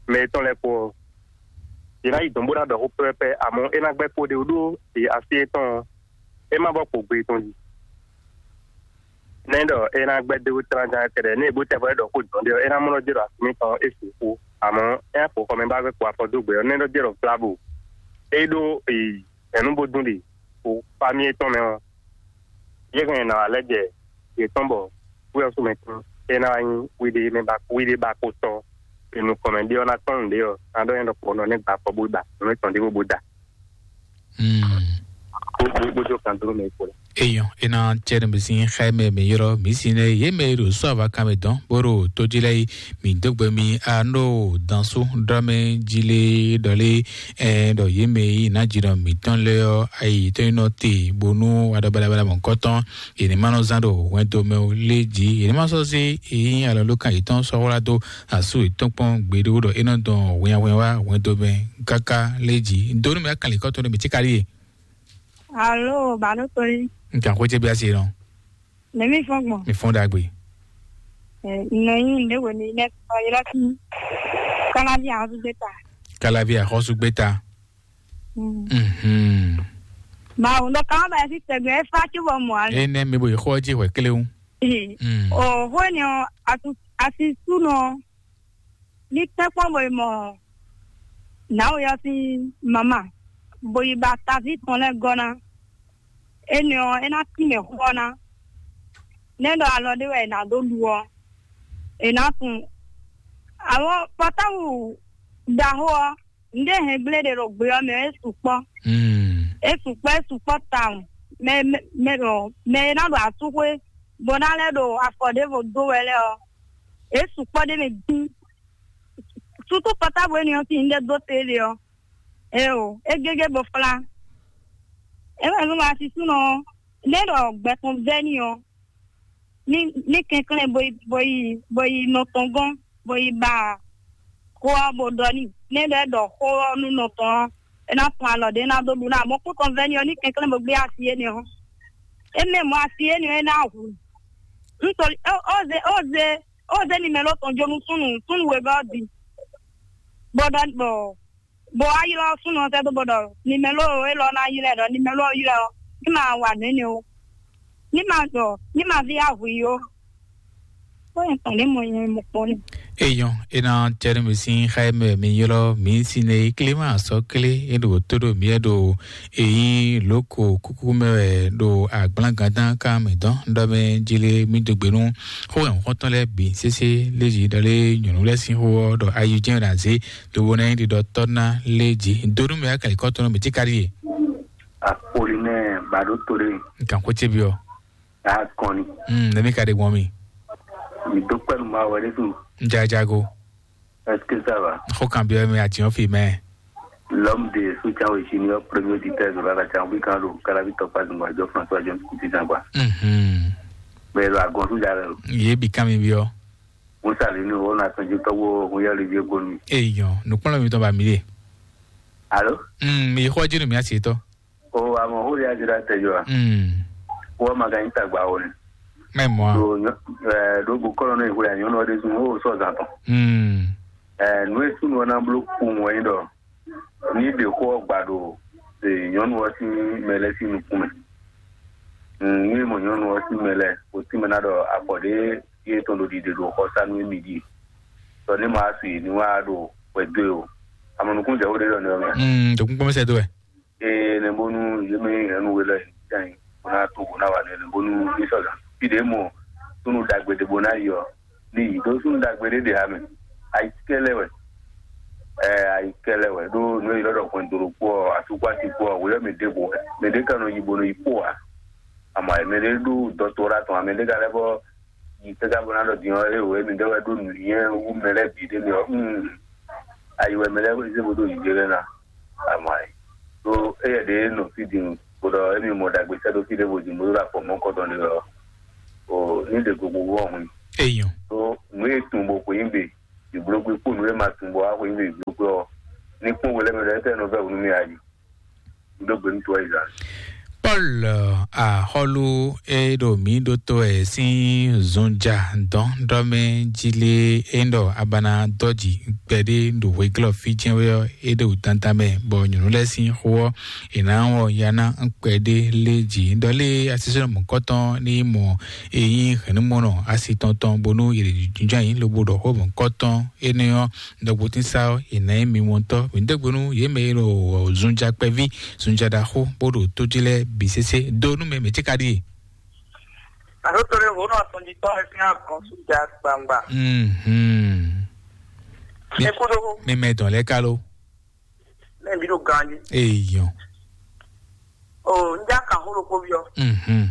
mɛ tɔn lɛ kpó. Yìí ná yi dɔn bó ná ɖɔ xó pɛ́pɛ́pɛ́, amɔ̌ é ná gbɛ́ kpóɖé wú ɖó asi étɔn ɔ́, é má bɔ kpo gbe tɔn jí. Nɛ́ ɖɔ é ná gbɛ́ dó tlánján kɛɖɛ, ní è bó tɛ bɔ é ɖɔ xó dɔn ɖé ɔ́, é ná mlɔ́ jɛ ɖo asi mǐtɔn ɔ́, é sixú. Amɔ̌ é ná kpo xɔmɛ bá gbé kpo afɔ dó gbe ɔ́, nɛ́ ɖɔ jɛ ɖɔ vlabo. É ɖó yi nyɛ̌nu bó dún ɖe kpo famí étɔn mɛ ɔ́, yě hɛn nǎ wá lɛ́ jɛ yě tɔn bɔ wí ɔ́ sú mɛ tɔn é ná wá nyí wíɖé mɛ ba wíɖé ba ko tɔ́ e nukɔn mɛ ɖé ɔ́ ná tɔ́n nǔɖé ɔ́, ná ɖɔ nyɛ ɖɔkpɔ nɔ nɛ́ gba afɔ bó da nǔ e tɔn ɖé bó bó da. Mm. Bó bó bó jó kan dó mɛ kpo la. Eyɔn, ena tsɛ ne bisi xɛ mɛ mi yɔrɔ mi si ne ye mɛ ɖo sɔ ava kan mɛ dɔn boro to ji lɛ yi mi dogbe mi a no dansu dɔ mɛ ji le dɔ le ɛ dɔ ye mɛ yi na ji dɔ mi tɔn lɛ ɔ ayi tɔn yi nɔ te bonu wa dɔ balabala mɔ kɔtɔn. Yě ní ma nɔ zán ɖo hwɛndo mɛ o lé jí. Yě ní ma sɔ́ zé yín alɔlókan yětɔn sɔ́ wlá dó asú yětɔn kpɔ́n gbeɖé ɖɔ é nɔ dɔn hwinnyahwinnya wá hwɛndo mɛ káká lé jí. Dó nú mɛ kanlin kɔ́tɔn ɖo mǐ tíka ɖíe. Alo, bǎ ɖo to yí. Un kan xwé ce bí asi nɔ. Nɛ̌ mí fɔ́n gbɔn? Mi fɔ́n ɖagbe. Nɔ yí ǹdé wě ní nɛ́ tɔ́ ylɔ́ kí. Káláví ahɔ́súgbéta. Káláví ahɔ́súgbéta. Mhm. Mawu ɖɔ kama ba yɛsi tɛgbɛ e fa ci bɔ mɔ ali. Ene mi bo yi xɔ ji hwɛ kle wu. Mm. O hwɛ ni o asu asi su nɔ ni tɛ kpɔn bo yi mɔ nawo yɔ si mama bo yi ba tavi tɔn lɛ gɔ na. Ene ɔ e na ti mɛ xɔ na. Ne ɖɔ alɔ ɖe wɛ e na do ɖu ɔ e na kun. Awɔ pɔtawu ɖaxo ɔ Nǔɖé hɛn gblé ɖe ɖo gbe ɔ́ mɛ ɔ́, é sukpɔ́. Mm. É sukpɔ́, é sukpɔ́ tawun. Mɛ mɛ mɛ ɖɔ mɛ e ná ɖo asúxwé bó ná lɛ́ ɖo afɔ ɖěvo dó wɛ lɛ́ɛ ɔ́, é sukpɔ́ ɖ'é mɛ dín. Sútú pɔtábu énɛ́ ɔ́ sín nǔɖé dó te ɖe ɔ́, éeǒ, é gégé bo flá. É wɛ nú asisúnɔ ɔ́, nɛ́ ɖɔ gbɛ tɔn vɛ́ n'i ɔ́, ní ní kɛnklɛ́n bo yi bo yi bo yi nɔ tɔn gɔ́n bo yi ba xó ɔ́ bo ɖɔ n'i. Nɛ́ ɖɔ é ɖɔ xó ɔ́ nú nɔ tɔn ɔ́, é ná fun alɔ ɖě ná dó ɖu ná mɔ̌kútɔn vɛ́ni ɔ́ ní kɛnklɛ́n bo gbé asi énɛ́ ɔ́. É mɛ mɔ̌ asi énɛ́ ɔ́ é ná hu. Un sɔ́ ó ó zé ó zé ó zé nimɛlo tɔn jó nú súnnu súnnu wěvɛ́ ɔ́ din, bó ɖɔ bɔ bó wá ylɔ́ súnnu ɔ́ sɛ́ dó bó ɖɔ nimɛlo élɔ́ ná ylɔ́ ɛ ɖɔ nimɛlo ɔ́ ylɔ́ ɛ ɔ́, ní ma wa nǔ énɛ́ ó, ní ma ɖɔ ní ma ví ahwi ó. Ó nyɛ tɔn ní mo nyɛ mo kpɔ́n ní. Eyɔn, ena tɛnumɛ sín xá mɛ mi ylɔ́ mi sín ne Clément sɔ́ clé é ɖo tó ɖo miɛ ɖo èyí lóko kúkú mɛ wɛ ɖo agblán gǎndán ká mɛ dɔn ɖɔ mɛ jí lé mí dó gbe nú xó nyɔ̌xɔ́ntɔn lɛ́ɛ bǐ sésé lézǐ ɖɔ lé nyɔ̌nu lɛ́ɛ sín xó ɔ́ ɖɔ ayi jɛ́n ɖo azě lobo ná nyí ɖiɖɔtɔ́ ná lé jí. Dó nú mɛ akɛlɛkɔ́tɔn nú mǐ tíká ɖíe. Apolinɛ Baɖó Tolé. Gǎn xó ce byɔ́. Akɔni. Mm, nɛmí ka ɖe gbɔn mi. Mi dó kpɛ́ nú Mawu wɛ ɖésú. Jajago. Est-ce que ça va? Xó kan byɔ́ mi àti ɔ́ fi mɛ. L'homme de soutien au Junior, premier auditeur de la Latchangbri kan ɖo Kalavi tɔkpa zungba jɔ François John Kuti zangba. Mhm. Bɛɛ ɖo agɔn sú jalɛ o. Yě bǐ kan mi byɔ́. Musa linu o na tɔjú tɔwó hun yɛ lidi eko nu. Eyɔn, nukpɔnlɔ mi tɔn ba mi ɖe. Alo? Mm, mi xɔ jinu mi asi tɔ. O amɔ hu ya jira tɛ jɔ. Mm. Wo ma ka yin tagba o ne. Mɛ mɔ. Do nyɔ eh do bu kɔlɔ ne hu ya nyɔnu de sun o sɔ zan tɔn. Mm. Eh nu e sunu na blo ku mo yin dɔ. Ni de xɔ gba do e nyɔnu ɔ sin mɛ lɛ sin nukun mɛ. Mm, ni mo nyɔnu ɔ sin mɛ lɛ o sin mɛ na dɔ afɔ de ye tɔn ɖo ɖiɖe ɖo xɔsanu e mi ɖi. Tɔ ne ma su yi ni wa ɖo wɛ do o. Amɔ nukun jɛ wo ɖe ɖɔ ne ɔmɛ. Mm, dokun kpɔmɛ sɛ do wɛ. Ee ne bonu ye me hɛn nu we lɛ jan yi. Bona to bona wa ne ne bonu ni sɔ gan. Fi de mo sunu dagbe de bona yi ɔ. Ni yi do sunu dagbe de de ha me. Ayi kɛlɛ wɛ. Ɛ ayi kɛlɛ wɛ ɖo nu yi lɔ dɔ kɔn doro kpɔ atukɔ ati kpɔ wɛ yɔ mi de bo wɛ. Mi de ka nɔ yi bo nɔ yi kpɔ wa. Ama mi de ɖo dɔtora tɔn, mi de ka lɛ bɔ yi tɛgɛ bɔ na ɖɔ din ɔ eye wɛ mi ɖe wɛ ɖo nǔnyinyɛ wú mɛ lɛ bǐ ɖe mi ɔ. Mm. Ayi wɛ mɛ lɛ zé bo ɖo yi ɖe lɛ na. Ama yi ɖo eye ɖe nɔ fi din bó ɖɔ emi mɔ ɖagbe sɛ ɖo fi ɖe bo din bó ɖo afɔ mɔ kɔtɔn ɖe ɔ. Ní ɖe gbogbo wɔ hun. Eyɔn. Tó nǔ e tun bo xweyígbe ìblógbé kpó nǔ e ma tun bo wá xweyígbe ìblógbé ɔ́, ní kpɔ́n hwelɛ́mɛ lɛ́ɛ tɛ́ nɔ vɛ́ nú mì ayi. Ɖó gbe nú towe yi zan. Paul, axɔ́lú e ɖo mǐ ɖótó ɛ sín zunja dɔn ɖɔ mɛ jí lé, é ɖɔ abana dɔji kpɛɖé ɖo hweglɔ fí jɛ́n wɛ ɔ́, é ɖo dandan mɛ, bɔ nyɔ̌nu lɛ́ɛ sín xó ɔ́, è nǎ wɔ ya ná kpɛɖé lé jǐ. Ɖɔ lé asisɛnɔ mɔ̌kɔtɔn ní mɔ e nyí hɛ̌nnumɔnɔ asi tɔn tɔn, bónú è lě jínjɔ́n ayǐ lobo ɖɔ xó mɔ̌kɔtɔn énɛ́ ɔ́, ɖɔkpɔtín sá ɔ́, è nǎ nyí mimɔtɔ́. Mǐ dó gbe nú yě mɛ e ɖo zunja kpɛví, zunja ɖaxó, bó ɖo tó jí lɛ́ɛ bǐ sésé. Do nú mɛ mɛ̌ ce ka ɖíe? Àtúntò lè wò nɔ àtúndítọ́ ẹ fi hàn kan sójà gbangba. Mhm. Mi- Ẹ kú dó. Mi mɛ dɔn lɛ ká ló? Mɛ mi ɖo ganji. Eyɔn. O, n já kan hó ɖokpó byɔ́. Mhm.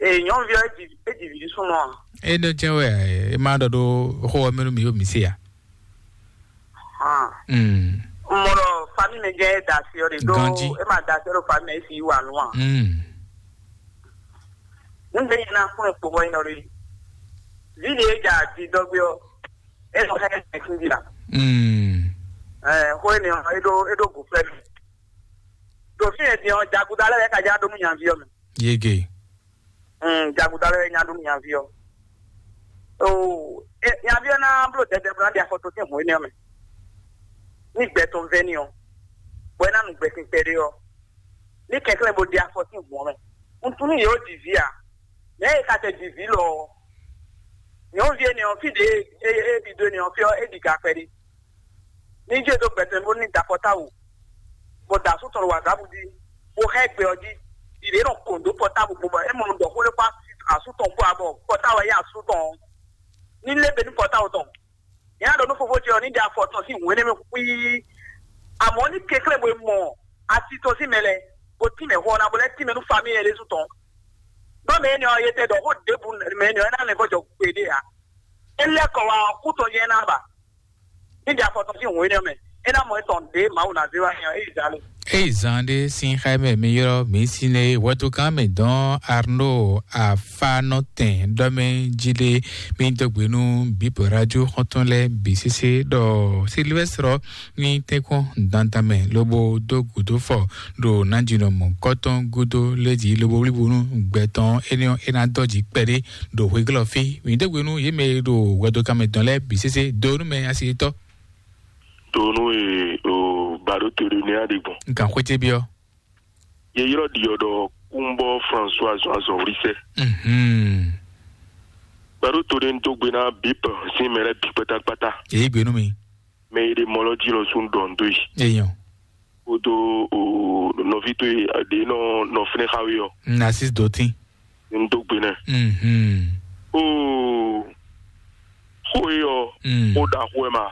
Ee, nyɔ̌nuví ɔ́, é ji é ji vǐ súnnu ɔ́. É ɖɔ jɛ́n wɛ, é má ɖɔ ɖó xó ɔ́ mɛ nú mi yó mi se a? Hàn. Mm. Mɔ ɖɔ famille mɛ jɛ é da asi ɔ́ ɖe ɖó Ganji. É ma da asi ɔ́ ɖo famille mɛ é si yí wa nú a? Mm. Nígbà yẹn náà fún ẹ kpó wọ́n yín lọ rí. Vǐ ɖé é dza dzi dɔ́gbé ɔ́, é nɔ xá ẹ tɛ̀sín jí la. Mm. Ɛ xó énɛ́ ɔ́, é ɖó é ɖó gǔ fɛ́ mi. Ɖo fí e din ɔ́, jaguda lɛ́ɛ ka já ɖó nú nyaví ɔ́ mɛ. Yege. Mm, jaguda lɛ́ɛ nya ɖó nú nyaví ɔ́. Oo, e, nyaví ɔ́ ná bló dɛdɛ bó ná ɖe afɔ tɔn sín hǔn énɛ́ ɔ́ mɛ. Ní gbɛ tɔn vɛ́ n'i ɔ́, bɔ é ná nu gbɛ kpɛɖé ɔ́, ní kɛnklɛ́n bó ɖe afɔ sín hǔn ɔ́ mɛ. Un tunú yě ó ɖi vǐ ǎ. Mɛ̌ e ka tɛ ɖi vǐ lɔ ɔ́? Nyɔ̌nuví énɛ́ ɔ́, fí ɖě e e ɖi dó énɛ́ ɔ́, fí ɔ́, é ɖi ga kpɛɖé. Ní jɛ dó gbɛtɔ́ bó ní da pɔ́táwu, bó da asú tɔn ɖo wǎgábu jí, bó hɛn gbɛ ɔ́ jí, ɖiɖě nɔ kɔn dó pɔ́táwu gbogbo, é mɔ ɖɔ xó ɖé kpó asú tɔn kpó abɔ pɔ́táwu yí asú tɔn ɔ́. Ní lé be nú pɔ́táwu tɔn. Nyɛ ná ɖɔ nú fofó ce ɔ́, ní ɖe afɔ tɔn sín hǔn énɛ́ mɛ xwíí. Amɔ̌ ní kɛnklɛ́n bo mɔ asi tɔn sín mɛ lɛ́ɛ, bó tínmɛ xɔ ɔ́ ná, bó lɛ́ tínmɛ nú famíli ɔ́ ɖésú tɔn. Nɔ́ mɛ énɛ́ ɔ́, yě tɛ ɖɔ xó ɖěbǔ mɛ énɛ́ ɔ́, é ná lɛ́ vɔ́ jɔ gbeɖé ǎ. É lɛ́ kɔ wá ɔ́, kú tɔn jɛ́n ná ba. Ní ɖi afɔ tɔn sín hǔn énɛ́ mɛ, é ná mɔ étɔn ɖě Mawu ná zé wá nyɛ ɔ́, é yi zǎn lo. Eyi zan ɖé sín xá mɛ mi ylɔ́ mǐ sín é wɛ̌túkán mǐ dɔn Arnaud Afanɔtɛn ɖɔ mɛ jí ɖé. Mǐ dó gbe nú bǐ radio xɔ́ntɔn lɛ́ɛ bǐ sésé ɖɔ Silvɛ́strɔ ní tɛ́nkpɔ́n dandan mɛ lobo dó gǔdo fɔ ɖo nǎjínɔ mɔ̌kɔtɔn gúdo lé jí lobo wlíbo nú gbɛ tɔn énɛ́ ɔ́, é ná dɔ́ jǐ kpɛɖé ɖo hweglɔ́ fí. Mǐ dó gbe nú yě mɛ e ɖo hwɛdokánmɛ dɔn lɛ́ɛ bǐ sésé dó nú mɛ asi yětɔn. Donu e o bado to ɖe nɛ aɖe gbɔn. Nkan xwete biɔ. Ye yrɔ ɖiɔ ɖɔ kúnbɔ François azɔn azɔn wlisɛ. Mhm. Bado to ɖe n do gbe na bip sin mɛ lɛ bi kpatakpata. Èyí gbénu mi. Mɛ yi ɖe mɔ lɔ jí lɔ sún ɖɔ n do yi. Èèyàn. Kodo o nɔvi to yi ɖe nɔ nɔ fínɛ xawe ɔ. Narcisse Dotin. N dó gbe nɛ. Mhm. Oo, xó e ɔ, Mm. Xó ɖaxó wɛ ma.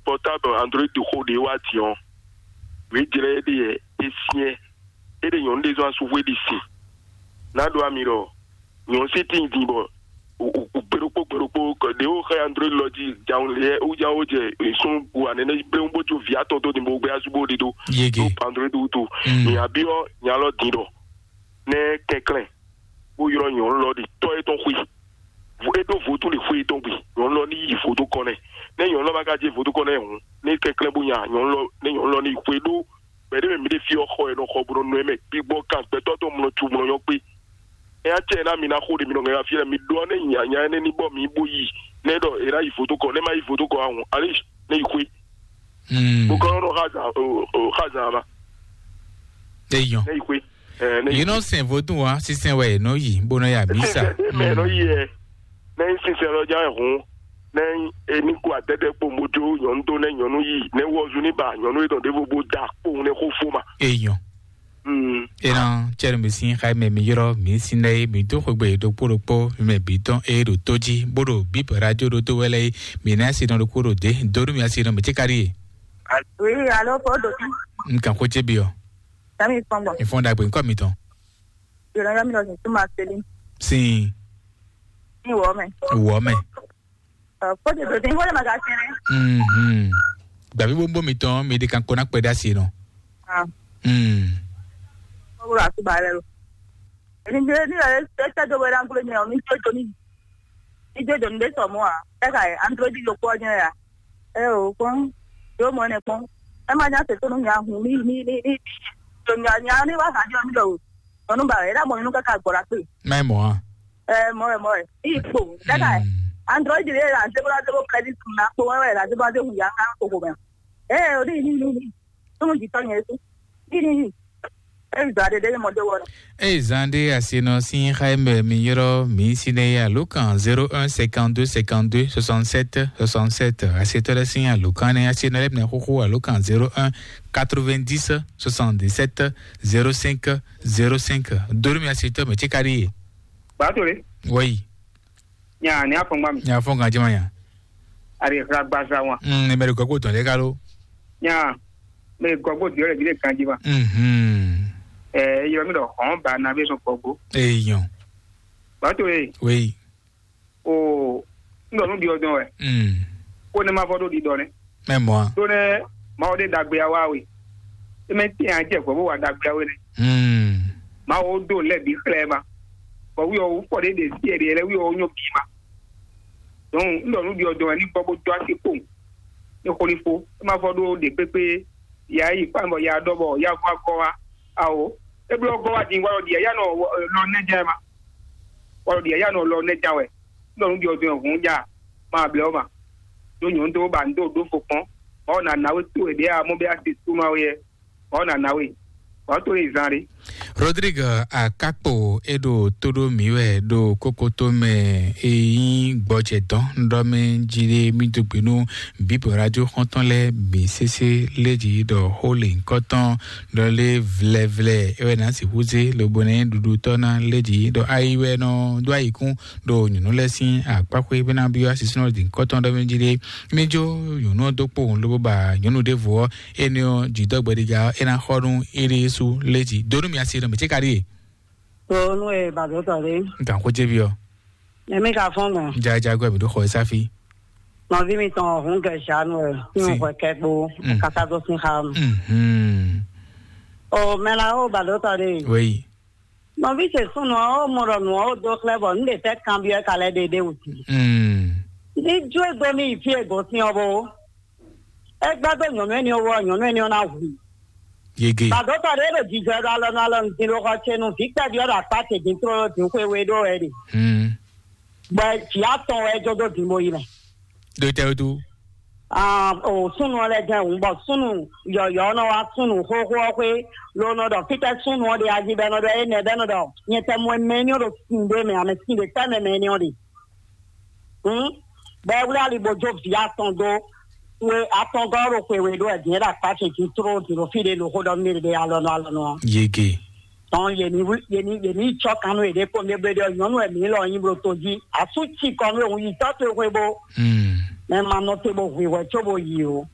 Portable Android xó ɖé wá din ɔ́, wě jlɛ́ é ɖe yɛ é syɛ́n. É ɖe nyɔ̌nu ɖé zɔn asúxwé ɖi sin. Ná ɖó ami ɖɔ nyɔ̌nu sí tíin din bɔ gbeɖokpó gbeɖokpó ɖě wó xɛ Android lɔ jí jawun lɛ wújáwó jɛ sún wa nɛnɛ bléwún bó jó vǐ atɔn tó din bó gbé asú bó ɖi ɖó. Yege. Tó Android wútu. Mm. Mǐ abí ɔ́ nya lɔ din ɖɔ nɛ kɛnklɛn bó ylɔ́ nyɔ̌nu lɔ ɖi tɔ́ étɔn xwé. É ɖó vodún ɖi xwé étɔn gbe, nyɔ̌nu lɔ ní yi vodún kɔn nɛ. Nɛ́ nyɔ̌nu lɔ ma ka jɛ vodún kɔn nɛ hǔn, ní kɛnklɛ́n bó nya nyɔ̌nu lɔ, nɛ́ nyɔ̌nu lɔ ní yi xwé ɖó gbɛ̌ ɖé mɛ mǐ ɖe fí ɔ́ xɔ è nɔ xɔ bó nɔ nɔ ɛ mɛ gbigbɔ kan gbɛtɔ́ tɔn mlɔ cu mlɔ nyɔ́ kpé. Ɛ á cɛ ná mi ná xó ɖe mi nɔ ŋɛ wá fí lɛ mi ɖó ɔ́ nɛ́ nya nya énɛ́ ní bɔ mǐ bó yi nɛ́ ɖɔ è ná yi vodún kɔn, nɛ́ má yi vodún kɔn ǎ hǔn, alíj nɛ́ yi xwé. Bó kɔn nɔ xá zǎn xá zǎn ma. Eyɔn. Nɛ́ yi xwé. Ɛ, nɛ́ yi xwé. Yìí nɔ sɛn vodún wa sísɛn wɛ nɔ yi bó nɔ ya mísa. Sísɛn mɛ nɔ yi ɛ. Nɛ́ yi sísɛn lɔ já ɛ hǔn. Nɛ́ yi ení kó adɛ́dɛ́ kpó mojo nyɔ̌nu dó nɛ́ nyɔ̌nu yi nɛ́ wɔzu ní ba nyɔ̌nu e dɔn ɖěvo bó da kpowun nɛ́ xó fó ma. Eyɔn. Mm. Ena cɛnu mi sin xayi mɛ mi yrɔ mi sin ɖe mi do xogbe ɖokpó ɖokpó mi mɛ bi tɔn e ɖo tó jí bó ɖo bíp radio ɖo tó wɛ lɛ mi na asi nɔ ɖokpó ɖo dé donu mi asi nɔ mi tsi kari ye. Oui, allô, Paul Doki. N kan xó cé bi ɔ. Sami kpɔngbɔ. Ifɔn dagbe nkɔ mi tɔn. Yɔrɔ yɔ mi lɔ sin tuma seli. Sin. Ni wɔ mɛ. Wɔ mɛ. Kódé dòdò ní wọlé màgá sẹnẹ. Mhm. Gbàbí bó ń bó mi tán mi di kan kó ná pẹ́ dá sí nù. Ah. Mm. Kókó àti bàálẹ̀ lọ. Èmi ní ẹ tɛ́ dó wɛ ná gblé mi ɔ́, mi jó do ní mi jó do ní ɖé sɔ mɔ́ ǎ. Ɛ ka ɛ android ɖokpó ɔ́ nyɛ ya. Ɛ o kpɔ́n yóò mɔ ɛnɛ kpɔ́n. Ɛ má nya se tónú nya hun mí mí mí mí. Tó nya nya ní wá hǎ jɔ mí lɔ o. Nyɔ̌nu ba ɛ ɖá mɔ nyɔ̌nu káká gbɔ la kpé. Mɛ mɔ a. Ɛ mɔ ɛ mɔ ɛ. Í kpo. Ɛ ka ɛ android ɖé la zéro la zéro crédit kun na kpó wɛ la zéro la zéro ya ká koko mɛ. Ɛ o ní ní ní ní. Tónú jǐ tɔ́ nyɛ é sí. Ní ní ní. Ɛ zɔ aɖe ɖé mɔ dé wɔ. Eye zan ɖé asinɔ sín xá e mɛ mi ylɔ́ mǐ sín é alokan zéro un cinquante-deux cinquante-deux soixante-sept soixante-sept. Asetɔ́ lɛ́ɛ sín alokan nɛ́ asinɔ lɛ́ɛ bǐ ná xóxó alokan zéro un quatre-vingt-dix soixante-dix-sept zéro cinq zéro cinq. Dórí mi asetɔ́ mɛ tí ka ɖíe. Bàtòlè. Wọ́yì. Nya ní afɔngba mi. Nya fɔngba jẹ́ ma nya. Ari xla gbaza wan. Mm, ne mɛ ɖo gɔgbo tɔn ɖe ka lo. Nya, mɛ gɔgbo di ɔlɛ di le kan ji ma. Mhm. Ɛ yɔ mi ɖɔ hɔn ba na bi sɔn gɔgbo. Eyɔn. Bàtò ye. Oui. O n ɖɔ nu ɖi ɔdɔn wɛ. Mm. Ko ne ma fɔ ɖo ɖiɖɔ nɛ. Mɛ mɔ a. Ɖó nɛ Mawu ɖe ɖagbe ya wá we. Eme tɛn a jɛ vɔ bó wa ɖagbe ya we nɛ. Mm. Mawu ɖo lɛ bi xlɛ ma. Bɔ wi ɔ fɔ ɖe ɖe si ɛɖe lɛ wi ɔ nyɔ bi ma. Donc n ɖɔ nu ɖi ɔdɔn wɛ ní gbɔ bó dó asi kpowun. Ní xo ní fo. E ma fɔ ɖó ɖe kpékpé. Ya yi kpán bɔ ya ɖɔ bɔ ya vɔ akɔ wa. Awo. E blɔ gɔ wa din wa lɔ ɖi ya nɔ lɔ nɛ jɛ ma. Wa lɔ ɖi ya nɔ lɔ nɛ ja wɛ. N ɖɔ nu ɖi ɔdɔn wɛ hǔn ja. Ma blɛ o ma. Ɖó nyɔ̌nu dó ba n dó ɖó fo kpɔn. Mawu ná ná we towe ɖě a mɔ bɛ a se súnmọ́ we yɛ. Mawu ná ná we. Mawu towe yi zan ɖé. Rodrigue Akakpo e ɖo tó ɖó mǐ wɛ ɖo kókótó mɛ e nyí gbɔjɛ dɔn ɖɔ mɛ jí ɖé mí dó gbe nú bǐbɔ radio xɔ́ntɔn lɛ́ɛ bǐ sésé lé jí ɖɔ xó lě nyǐkɔ tɔn ɖɔ lé vlɛvlɛ é wɛ ná sixú zé lobo ná nyí ɖuɖutɔ́ ná lé jí ɖɔ ayi wɛ nɔ dó ayikún ɖo nyɔ̌nu lɛ́ɛ sín akpáxwé bó ná byɔ́ asisúnɔ ɖi nyǐkɔ tɔn ɖɔ mɛ jí ɖé. Mí jó nyɔ̌nu ɔ́ dó kpowun lobo ba nyɔ̌nu ɖěvo ɔ́, énɛ́ ɔ́, jǐdɔ́gbɛ́ɖígá ɔ́, é ná xɔ nú éɖée sú lé jí. Dó nú mi asi nɔ mǐ cé ka ɖíe? Tó nú e bàdó tɔ ɖé. Gǎn xó jé byɔ́. Èmi ka fɔ́n gbɔn. Jajagbɛ mǐ ɖó xɔ e sáfí. Nɔví mi tɔn ọ̀hún gẹ̀ ṣàánú ẹ̀ tí mo Si. Hwɛ kẹ́ kpó Mm. Kásá tó sín xá mi. Mhm. O mɛ la ó bàdó tɔ ɖé. Wéyí. Nɔví ce súnnu ɔ́, ó mɔ ɖɔ nǔ ɔ́ ó dó xlɛ́ bɔ nǔ ɖe tɛ́ kanbyɔ́ ɛ ka lɛ́ ɖe ɖé wǔ. Mm. Ní jó e gbé mì yi fí e gosín ɔ́ bó. É gbá dó nyɔ̌nu énɛ́ ɔ́ wú ɔ́, nyɔ̌nu énɛ́ ɔ́ ná hu. Yege. Bàdótɔ ɖé ɖo jijɔ ɖo alɔ nú alɔ nǔdín ɖó xɔ ce nú vǐ kpɛví ɔ́ ɖo akpá ce dín tlóló dín xwe we ɖó wɛ ɖe. Hmm. Bɔ vǐ atɔn wɛ é jó dó dín bó yi mɛ. Ɖo tɛ wútu. Ah, o súnnu ɔ́ lɛ́ jɛ́n hǔn bɔ súnnu yɔ̌yɔ́ ɔ́ nɔ wá súnnu xóxó ɔ́ xwé, ló nɔ ɖɔ fítɛ́ súnnu ɔ́ ɖe ají bɛ́ nɔ ɖɔ énɛ́ bɛ́ nɔ ɖɔ nyɛ tɛ mɔ mɛ énɛ́ ɔ́ ɖo sin ɖé mɛ, amɛ sin ɖé tɛ́ mɛ mɛ énɛ́ ɔ́ ɖe. Hǔn bɔ é wlí ali bó jó vǐ atɔn dó xwe atɔngɔ́ ɖo xwe we ɖó wɛ dǐn é ɖo akpá ce jí tló din ɖo fí ɖé ɖo xó ɖɔ nú mì ɖe alɔnɔ alɔnɔ ɔ́. Yege. Tɔn yě ní wlí- yě ní yě ní yi cɔ́ kan nú yěɖée kpó mɛ bɛ́ ɖɔ nyɔ̌nu wɛ mǐ lɔ nyí bló tó jí asú ci kɔ nú òun yi tɔ́ towe xwe bó. Hmm. Mɛ ma nɔ te bó hwǐ hwɛ có bó yi o.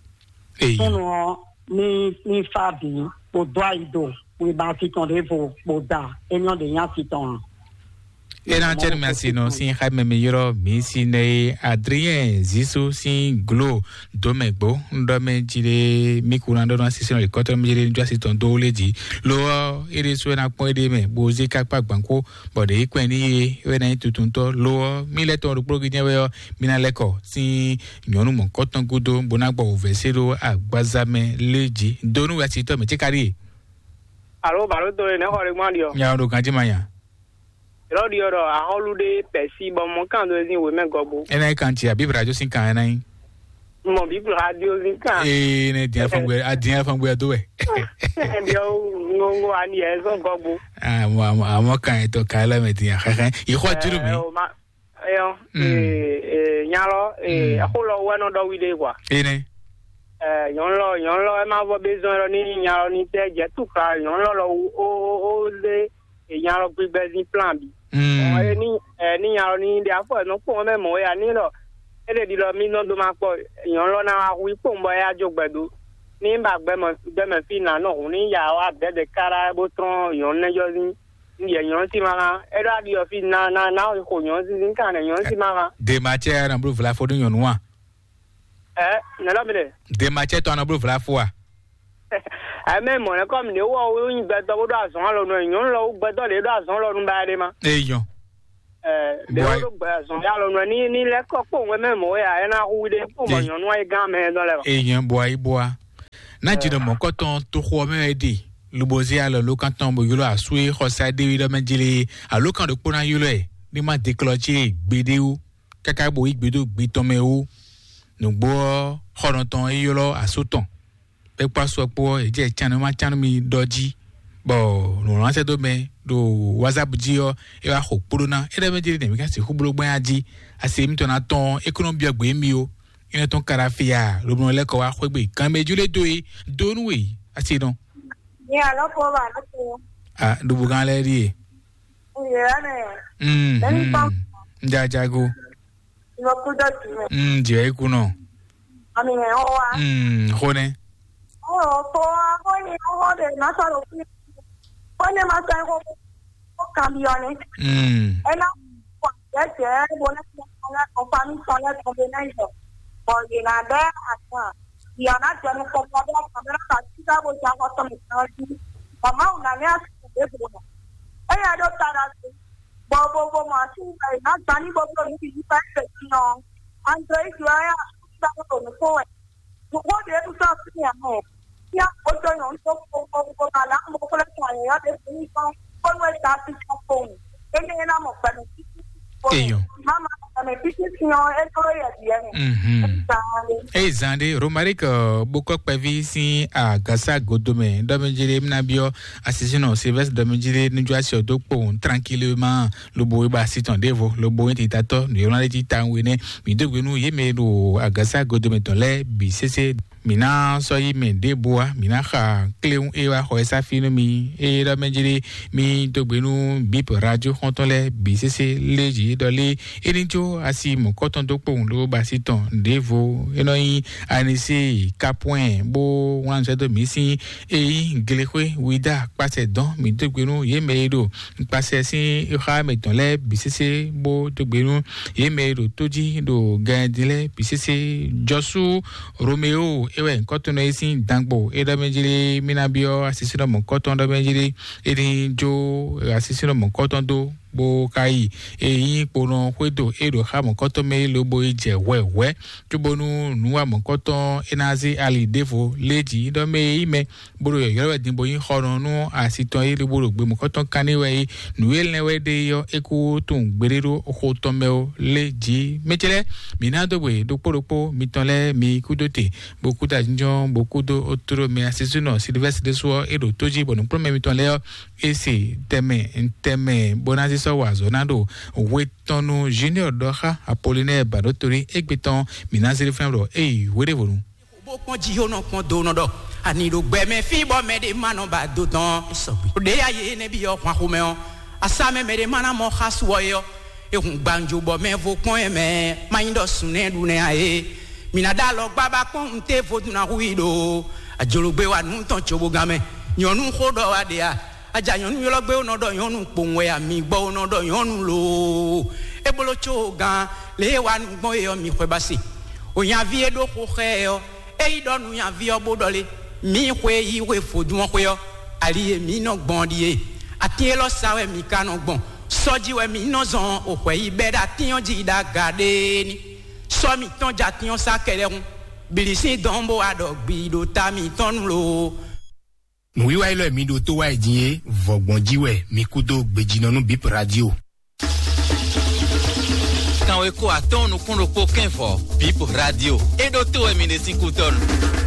Eyi. Súnnu ɔ́ ní ní fá bǐ bó dó ayi do wěma asi tɔn ɖěvo bó da émí ɔ́ ɖě nyí asi tɔn ǎ. Ena cɛnu mɛ asi nɔ sin xa mɛ mi yrɔ mi si nɛ ye Adrien Zisu sin glo do mɛ gbo ŋɖɔ mɛ ji ɖe mi ku na ɖɔ na sisi nɔ ikɔtɔ mi ji ɖe nujɔ asi tɔn do le ji lo ɔ ere so ena kpɔn ede mɛ bo ze kakpa gbanko bɔ ɖe ikpɛn ni ye wɛ na yi tutuntɔ lo ɔ mi lɛ tɔn ɖokplo gi jɛ wɛ ɔ mi na lɛ kɔ sin nyɔnu mɔ kɔtɔn gudo bo na gbɔ ovɛ se ɖo agbaza mɛ le ji do nu wɛ asi tɔ mɛ tse ka ɖi ye. Alo balo to ne xɔ ɖe gbɔn ɖiɔ. Nya ɖo ganji ma nya. Lɔ ɖiɔ ɖɔ ahɔlu ɖe pɛsi bɔ mɔ kan do ezin wemɛ gɔgbo. Ena yi kan ti abi brajo sin kan ena yi. Mɔ bi brajo sin kan. Ee ne diɛ fangbe a diɛ fangbe a do wɛ. Ɛdiɔ ŋgo ani yɛ zɔn gɔgbo. Ah mo mo mo kan to ka la me diɛ xɛxɛ. Yi xɔ juru mi. Ɛyɔ. Mm. Ee nyalɔ ee Mm. Ɛxó lɔ wɛ nɔ ɖɔ wi ɖe kwa. Ene. Ɛɛ nyɔnu lɔ nyɔnu lɔ ɛ ma vɔ be zɔn lɔ ni nyalɔ ni tɛ jɛ tu kla nyɔnu lɔ lɔ o o o le nya lɔ gbigbɛ zin plan bi. Mm. Ɔ eni ɛ ni nya lɔ ni ɖe afɔ ɛnɔ kpɔn mɛ mɔ ya ni lɔ ele ɖi lɔ mi nɔ do ma kpɔ nyɔnu lɔ na wa hu ikpɔn bɔ ya jo gbɛ do ni ba gbɛmɔ gbɛmɛ fi na nɔ hun ni ya wa dɛdɛ kara bo trɔn nyɔnu nɛ jɔ zin. Yɛ nyɔnu si ma kan e ɖo aɖi ɔ fi na na na xo nyɔnu si sin kan nɛ nyɔnu si ma kan. Dema cɛ na blu vla fo ɖu nyɔnu wa. Ɛ nɛ lɔ mi ɖe. Dema cɛ tɔ na blu vla fo wa. Ayé mɛ mɔ̌ lɛ́ɛ kɔmi ɖě wɔ wú nyi gbɛtɔ́ bó ɖo azɔ̌ alɔ nú ɛ, nyɔ̌nu lɔ wú gbɛtɔ́ ɖě ɖo azɔ̌ alɔ nú ba ɖé ma. Eyɔn. Ɛ, ɖě Bɔ- wó ɖo gbɛ azɔ̌ alɔ nú ɛ ní ní lɛ́ kɔ kpó òun mɛ mɔ̌ wɛ ǎ, ɛ ná hu ɖé kpó mɔ Ey- nyɔ̌nu ayé gán mɛ ɛ dɔn lɛ́ɛ. Eyɔn bɔ ayé bɔ a. Ná jǐnɔ mɔ̌kɔtɔn toxo ɔ́ mɛ wɛ ɖe. Lobo zé alɔ ló kan tɔn bó ylɔ́ asú e xɔ sa ɖé wí ɖɔ mɛ jlé. Aló kan ɖokpó ná ylɔ́ ɛ. Ní má deklɔ cí gbeɖé wú. Káká bó yí gbe dó gbe tɔn mɛ wú. Nǔgbó ɔ́, xɔnɔ tɔn é ylɔ́ asú tɔn. É kpó asú ɔ́ kpó ɔ́, é jɛ can nú má can nú mi ɖɔ jí. Bɔ nǔwlán sɛ́ dó mɛ ɖo WhatsApp jí ɔ́, é wá xo kpóɖó ná. É ɖɔ mɛ jí ɖé nɛ̌ mí ka sixú bló gbɛ́n á jí. Asi émítɔn ná tɔn é kó nɔ byɔ́ gbě mì ó. É nɔ tɔn ka ɖo afi a, lobo nɔ lɛ́ kɔ wá xwé gbe. Kan mɛ jú lé dó é, dó nú we, asi nɔ. Ní alɔ́ kó wà lóko. A ɖubu gán lɛ́ɛ ɖíe. Ìyá rẹ̀. Mm, Lẹ́yìn mm. Tán. Jajago. Ìwọ kú dọ̀tí rẹ̀. Mm, jẹ́ ikú náà. Àmì ẹ̀ ọ́ wa. Mm, xó nẹ́. Ó rọ̀ tó wá, ó ní ọwọ́ rẹ̀ má sọ̀rọ̀ fún mi. Ó ní má sọ ẹ̀kọ́ kó kàn bí ọ ni. Mm. Ẹ náà wà jẹ́jẹ́ bó ní kí wọ́n lẹ́kọ̀ọ́ pa mí sọ lẹ́kọ̀ọ́ bí náà yọ. Bọ̀ yìí nà bẹ́ àtàn. Ìyá náà jẹ́ mi kọ̀ọ̀kan bí ọkàn mi náà kà sí sábò jẹ́ akọ́tọ́ mi kan jí. Màmá ò nà ní àsìkò débò náà. Ẹ yà dó tara sí. Bɔ bo bo mɔ asi ŋgbɛ yi na gba ní gbogbo ní bǐ yí fɛ́ kpɛ̌ jí ɔ́, André yi jɔ ɛ asúgbà ɖo nǔ kó wɛ. Nǔkó ɖě ɖu sɔ́ sí nya mɛ. Nya kpódó nyɔ̌nu tó kpókpó kpó ma lá mo kplé tɔn yɛ̌yɔ́ ɖě fún yí kpɔ́n kpónú é ta sí kpɔ́n kpowun. Énɛ́ é ná mɔ gbɛmɛ títí kpó. Eyɔn. Má ma gbɛmɛ títí sí ɔ́, é tló yɛ bǐ ɛnɛ. Mhm. Eza ɖe. Eye zan ɖé Romaric bókɔ kpɛví sín agasa godomɛ ɖɔmɛjele mínabiɔ asisínɔ Sylvestre ɖɔmɛjele níjɔasí ɔdó kpowun tranquillement. Lobo wíba sí tɔn ɖěvo, lobo wí titatɔ nǔyɔ́nà lɛ́ɛ jí tawun énɛ́. Mǐ dó gbe nú yě mɛ e ɖo agasa godomɛ tɔn lɛ́ɛ bǐ sésé. Mǐ ná sɔ́ yí mɛ ɖěbǔ wá, mǐ ná xa kléwún e wá xɔ ɛ sá fí nú mi. Eye ɖɔ mɛ jlé mí dó gbe nú bíp radio xɔ́ntɔn lɛ́ɛ bǐ sésé lé jǐ ɖɔ lé é ní jó asi mɔ̌kɔtɔn dó kpowun lóbó ba sí tɔn ɖěvo. É nɔ nyí Anisi Kapwɛn bó wlán nǔ sɛ́ dó mǐ sín e nyí Glexwé Wida kpasɛ dɔn. Mǐ dó gbe nú yě mɛ e ɖo kpasɛ sín xá mɛtɔn lɛ́ɛ bǐ sésé bó dó gbe nú yě mɛ e ɖo tó jí ɖo gɛn din lɛ́ɛ bǐ sésé. Jɔsú Romeo é wɛ nyǐkɔ tɔn nɔ é sín dangbo é ɖɔ mɛ jlé mí ná byɔ́ asisínɔ mɔ̌kɔtɔn ɖɔ mɛ jlé é ní jó asisínɔ mɔ̌kɔtɔn dó bó ka yi e nyí kponɔ xwédo é ɖo xá mɔ̌kɔtɔn mɛ é lobo yi jɛ hwɛhwɛ cóbónú nǔwa mɔ̌kɔtɔn é ná zé ali ɖěvo lé jǐ ɖɔ mɛ é nyí mɛ bó ɖo yɔ̌yɔ́ wɛ din bó nyí xɔnɔ nú asi tɔn é lobo ɖo gbe mɔ̌kɔtɔn kanní wɛ é nǔ e lɛ́n wɛ ɖe é ɔ́ é kú tunwun gbeɖé ɖó xo tɔn mɛ ó lé jǐ. Mɛ ce lɛ́ɛ mǐ ná dó gbe ɖokpó ɖokpó mitɔn lɛ́ɛ mi kúdó te bó kúdó ajínjɔ́n bó kúdó ótóló mɛ asisúnɔ Silvɛ́sitiri ɖésú ɔ́ é ɖo tó jí bɔ nǔkplɔ́nmɛ mitɔn lɛ́ɛ ɔ́ é se tɛnmɛ tɛnmɛ bó ná zé sɔ́ wa azɔ̌ ná ɖo hwe tɔn nú Junior ɖɔ xá Apolinɛ́ɛ Baɖótolí égbé tɔn mǐ ná zé ɖó fɛ́n ɖɔ éyi hweɖévonu. Bó kpɔ́n jí ó nɔ kpɔ́n do nɔ ɖɔ ani ɖo gbɛ mɛ fí bɔ mɛ ɖé ma nɔ ba do tɔn. Ɖé ya yě nɛ́ byɔ́ hwan xomɛ ɔ́, asa mɛ mɛ ɖé ma ná mɔ xá su ɔ́ é ɔ́, é hun gbàǹjo bɔ mɛ vo kpɔ́n ɛ mɛ má nyí ɖɔ sùn nɛ́ ɖu nɛ́ ǎ é. Mǐ ná ɖó alɔ gbá bá kpɔ́n un té vodún ná hu i ɖo ajologbe wa nǔ tɔn cobogán mɛ. Nyɔ̌nu xó ɖɔ wá ɖe a? Aja nyɔ̌nu ylɔ́ gbé ó nɔ ɖɔ nyɔ̌nu kpowun wɛ a? Mi gbɔ ó nɔ ɖɔ nyɔ̌nu loo. É bló có gán lě e wa nǔ gbɔn é ɔ́, mi xwɛ ba se. O nyaví e ɖó xó xá ɛ ɔ́, é yi ɖɔ nú nyaví ɔ́ bó ɖɔ lé: mǐ xwe yi xwe vodún ɔ́ xwé ɔ́, ali e mǐ nɔ gbɔn ɔ́ ɖíe. Atín élɔ́ sa wɛ mǐ ka nɔ gbɔn. Sɔ́ jí wɛ mǐ nɔ zɔn o hwɛ yi bɛ́ ɖo atín ɔ́ jí ɖo aga ɖéé ní. Sɔ́ mǐtɔn jɛ atín ɔ́ sá kɛɖɛhún. Bǐlí sín dɔn bó wá ɖɔ gbi ɖo ta mǐtɔn nu loo. Nǔwiwa élɔ́ e mi ɖo tó wá yi din é, vɔ̌gbɔn jí wɛ mi kú dó gbejínɔ nú Bip Radio. Kanweko atɔ́ɔ́n nukún ɖokpó kɛ́n vɔ Bip Radio. É ɖó tó wɛ mi ɖe sín kútɔ́nu.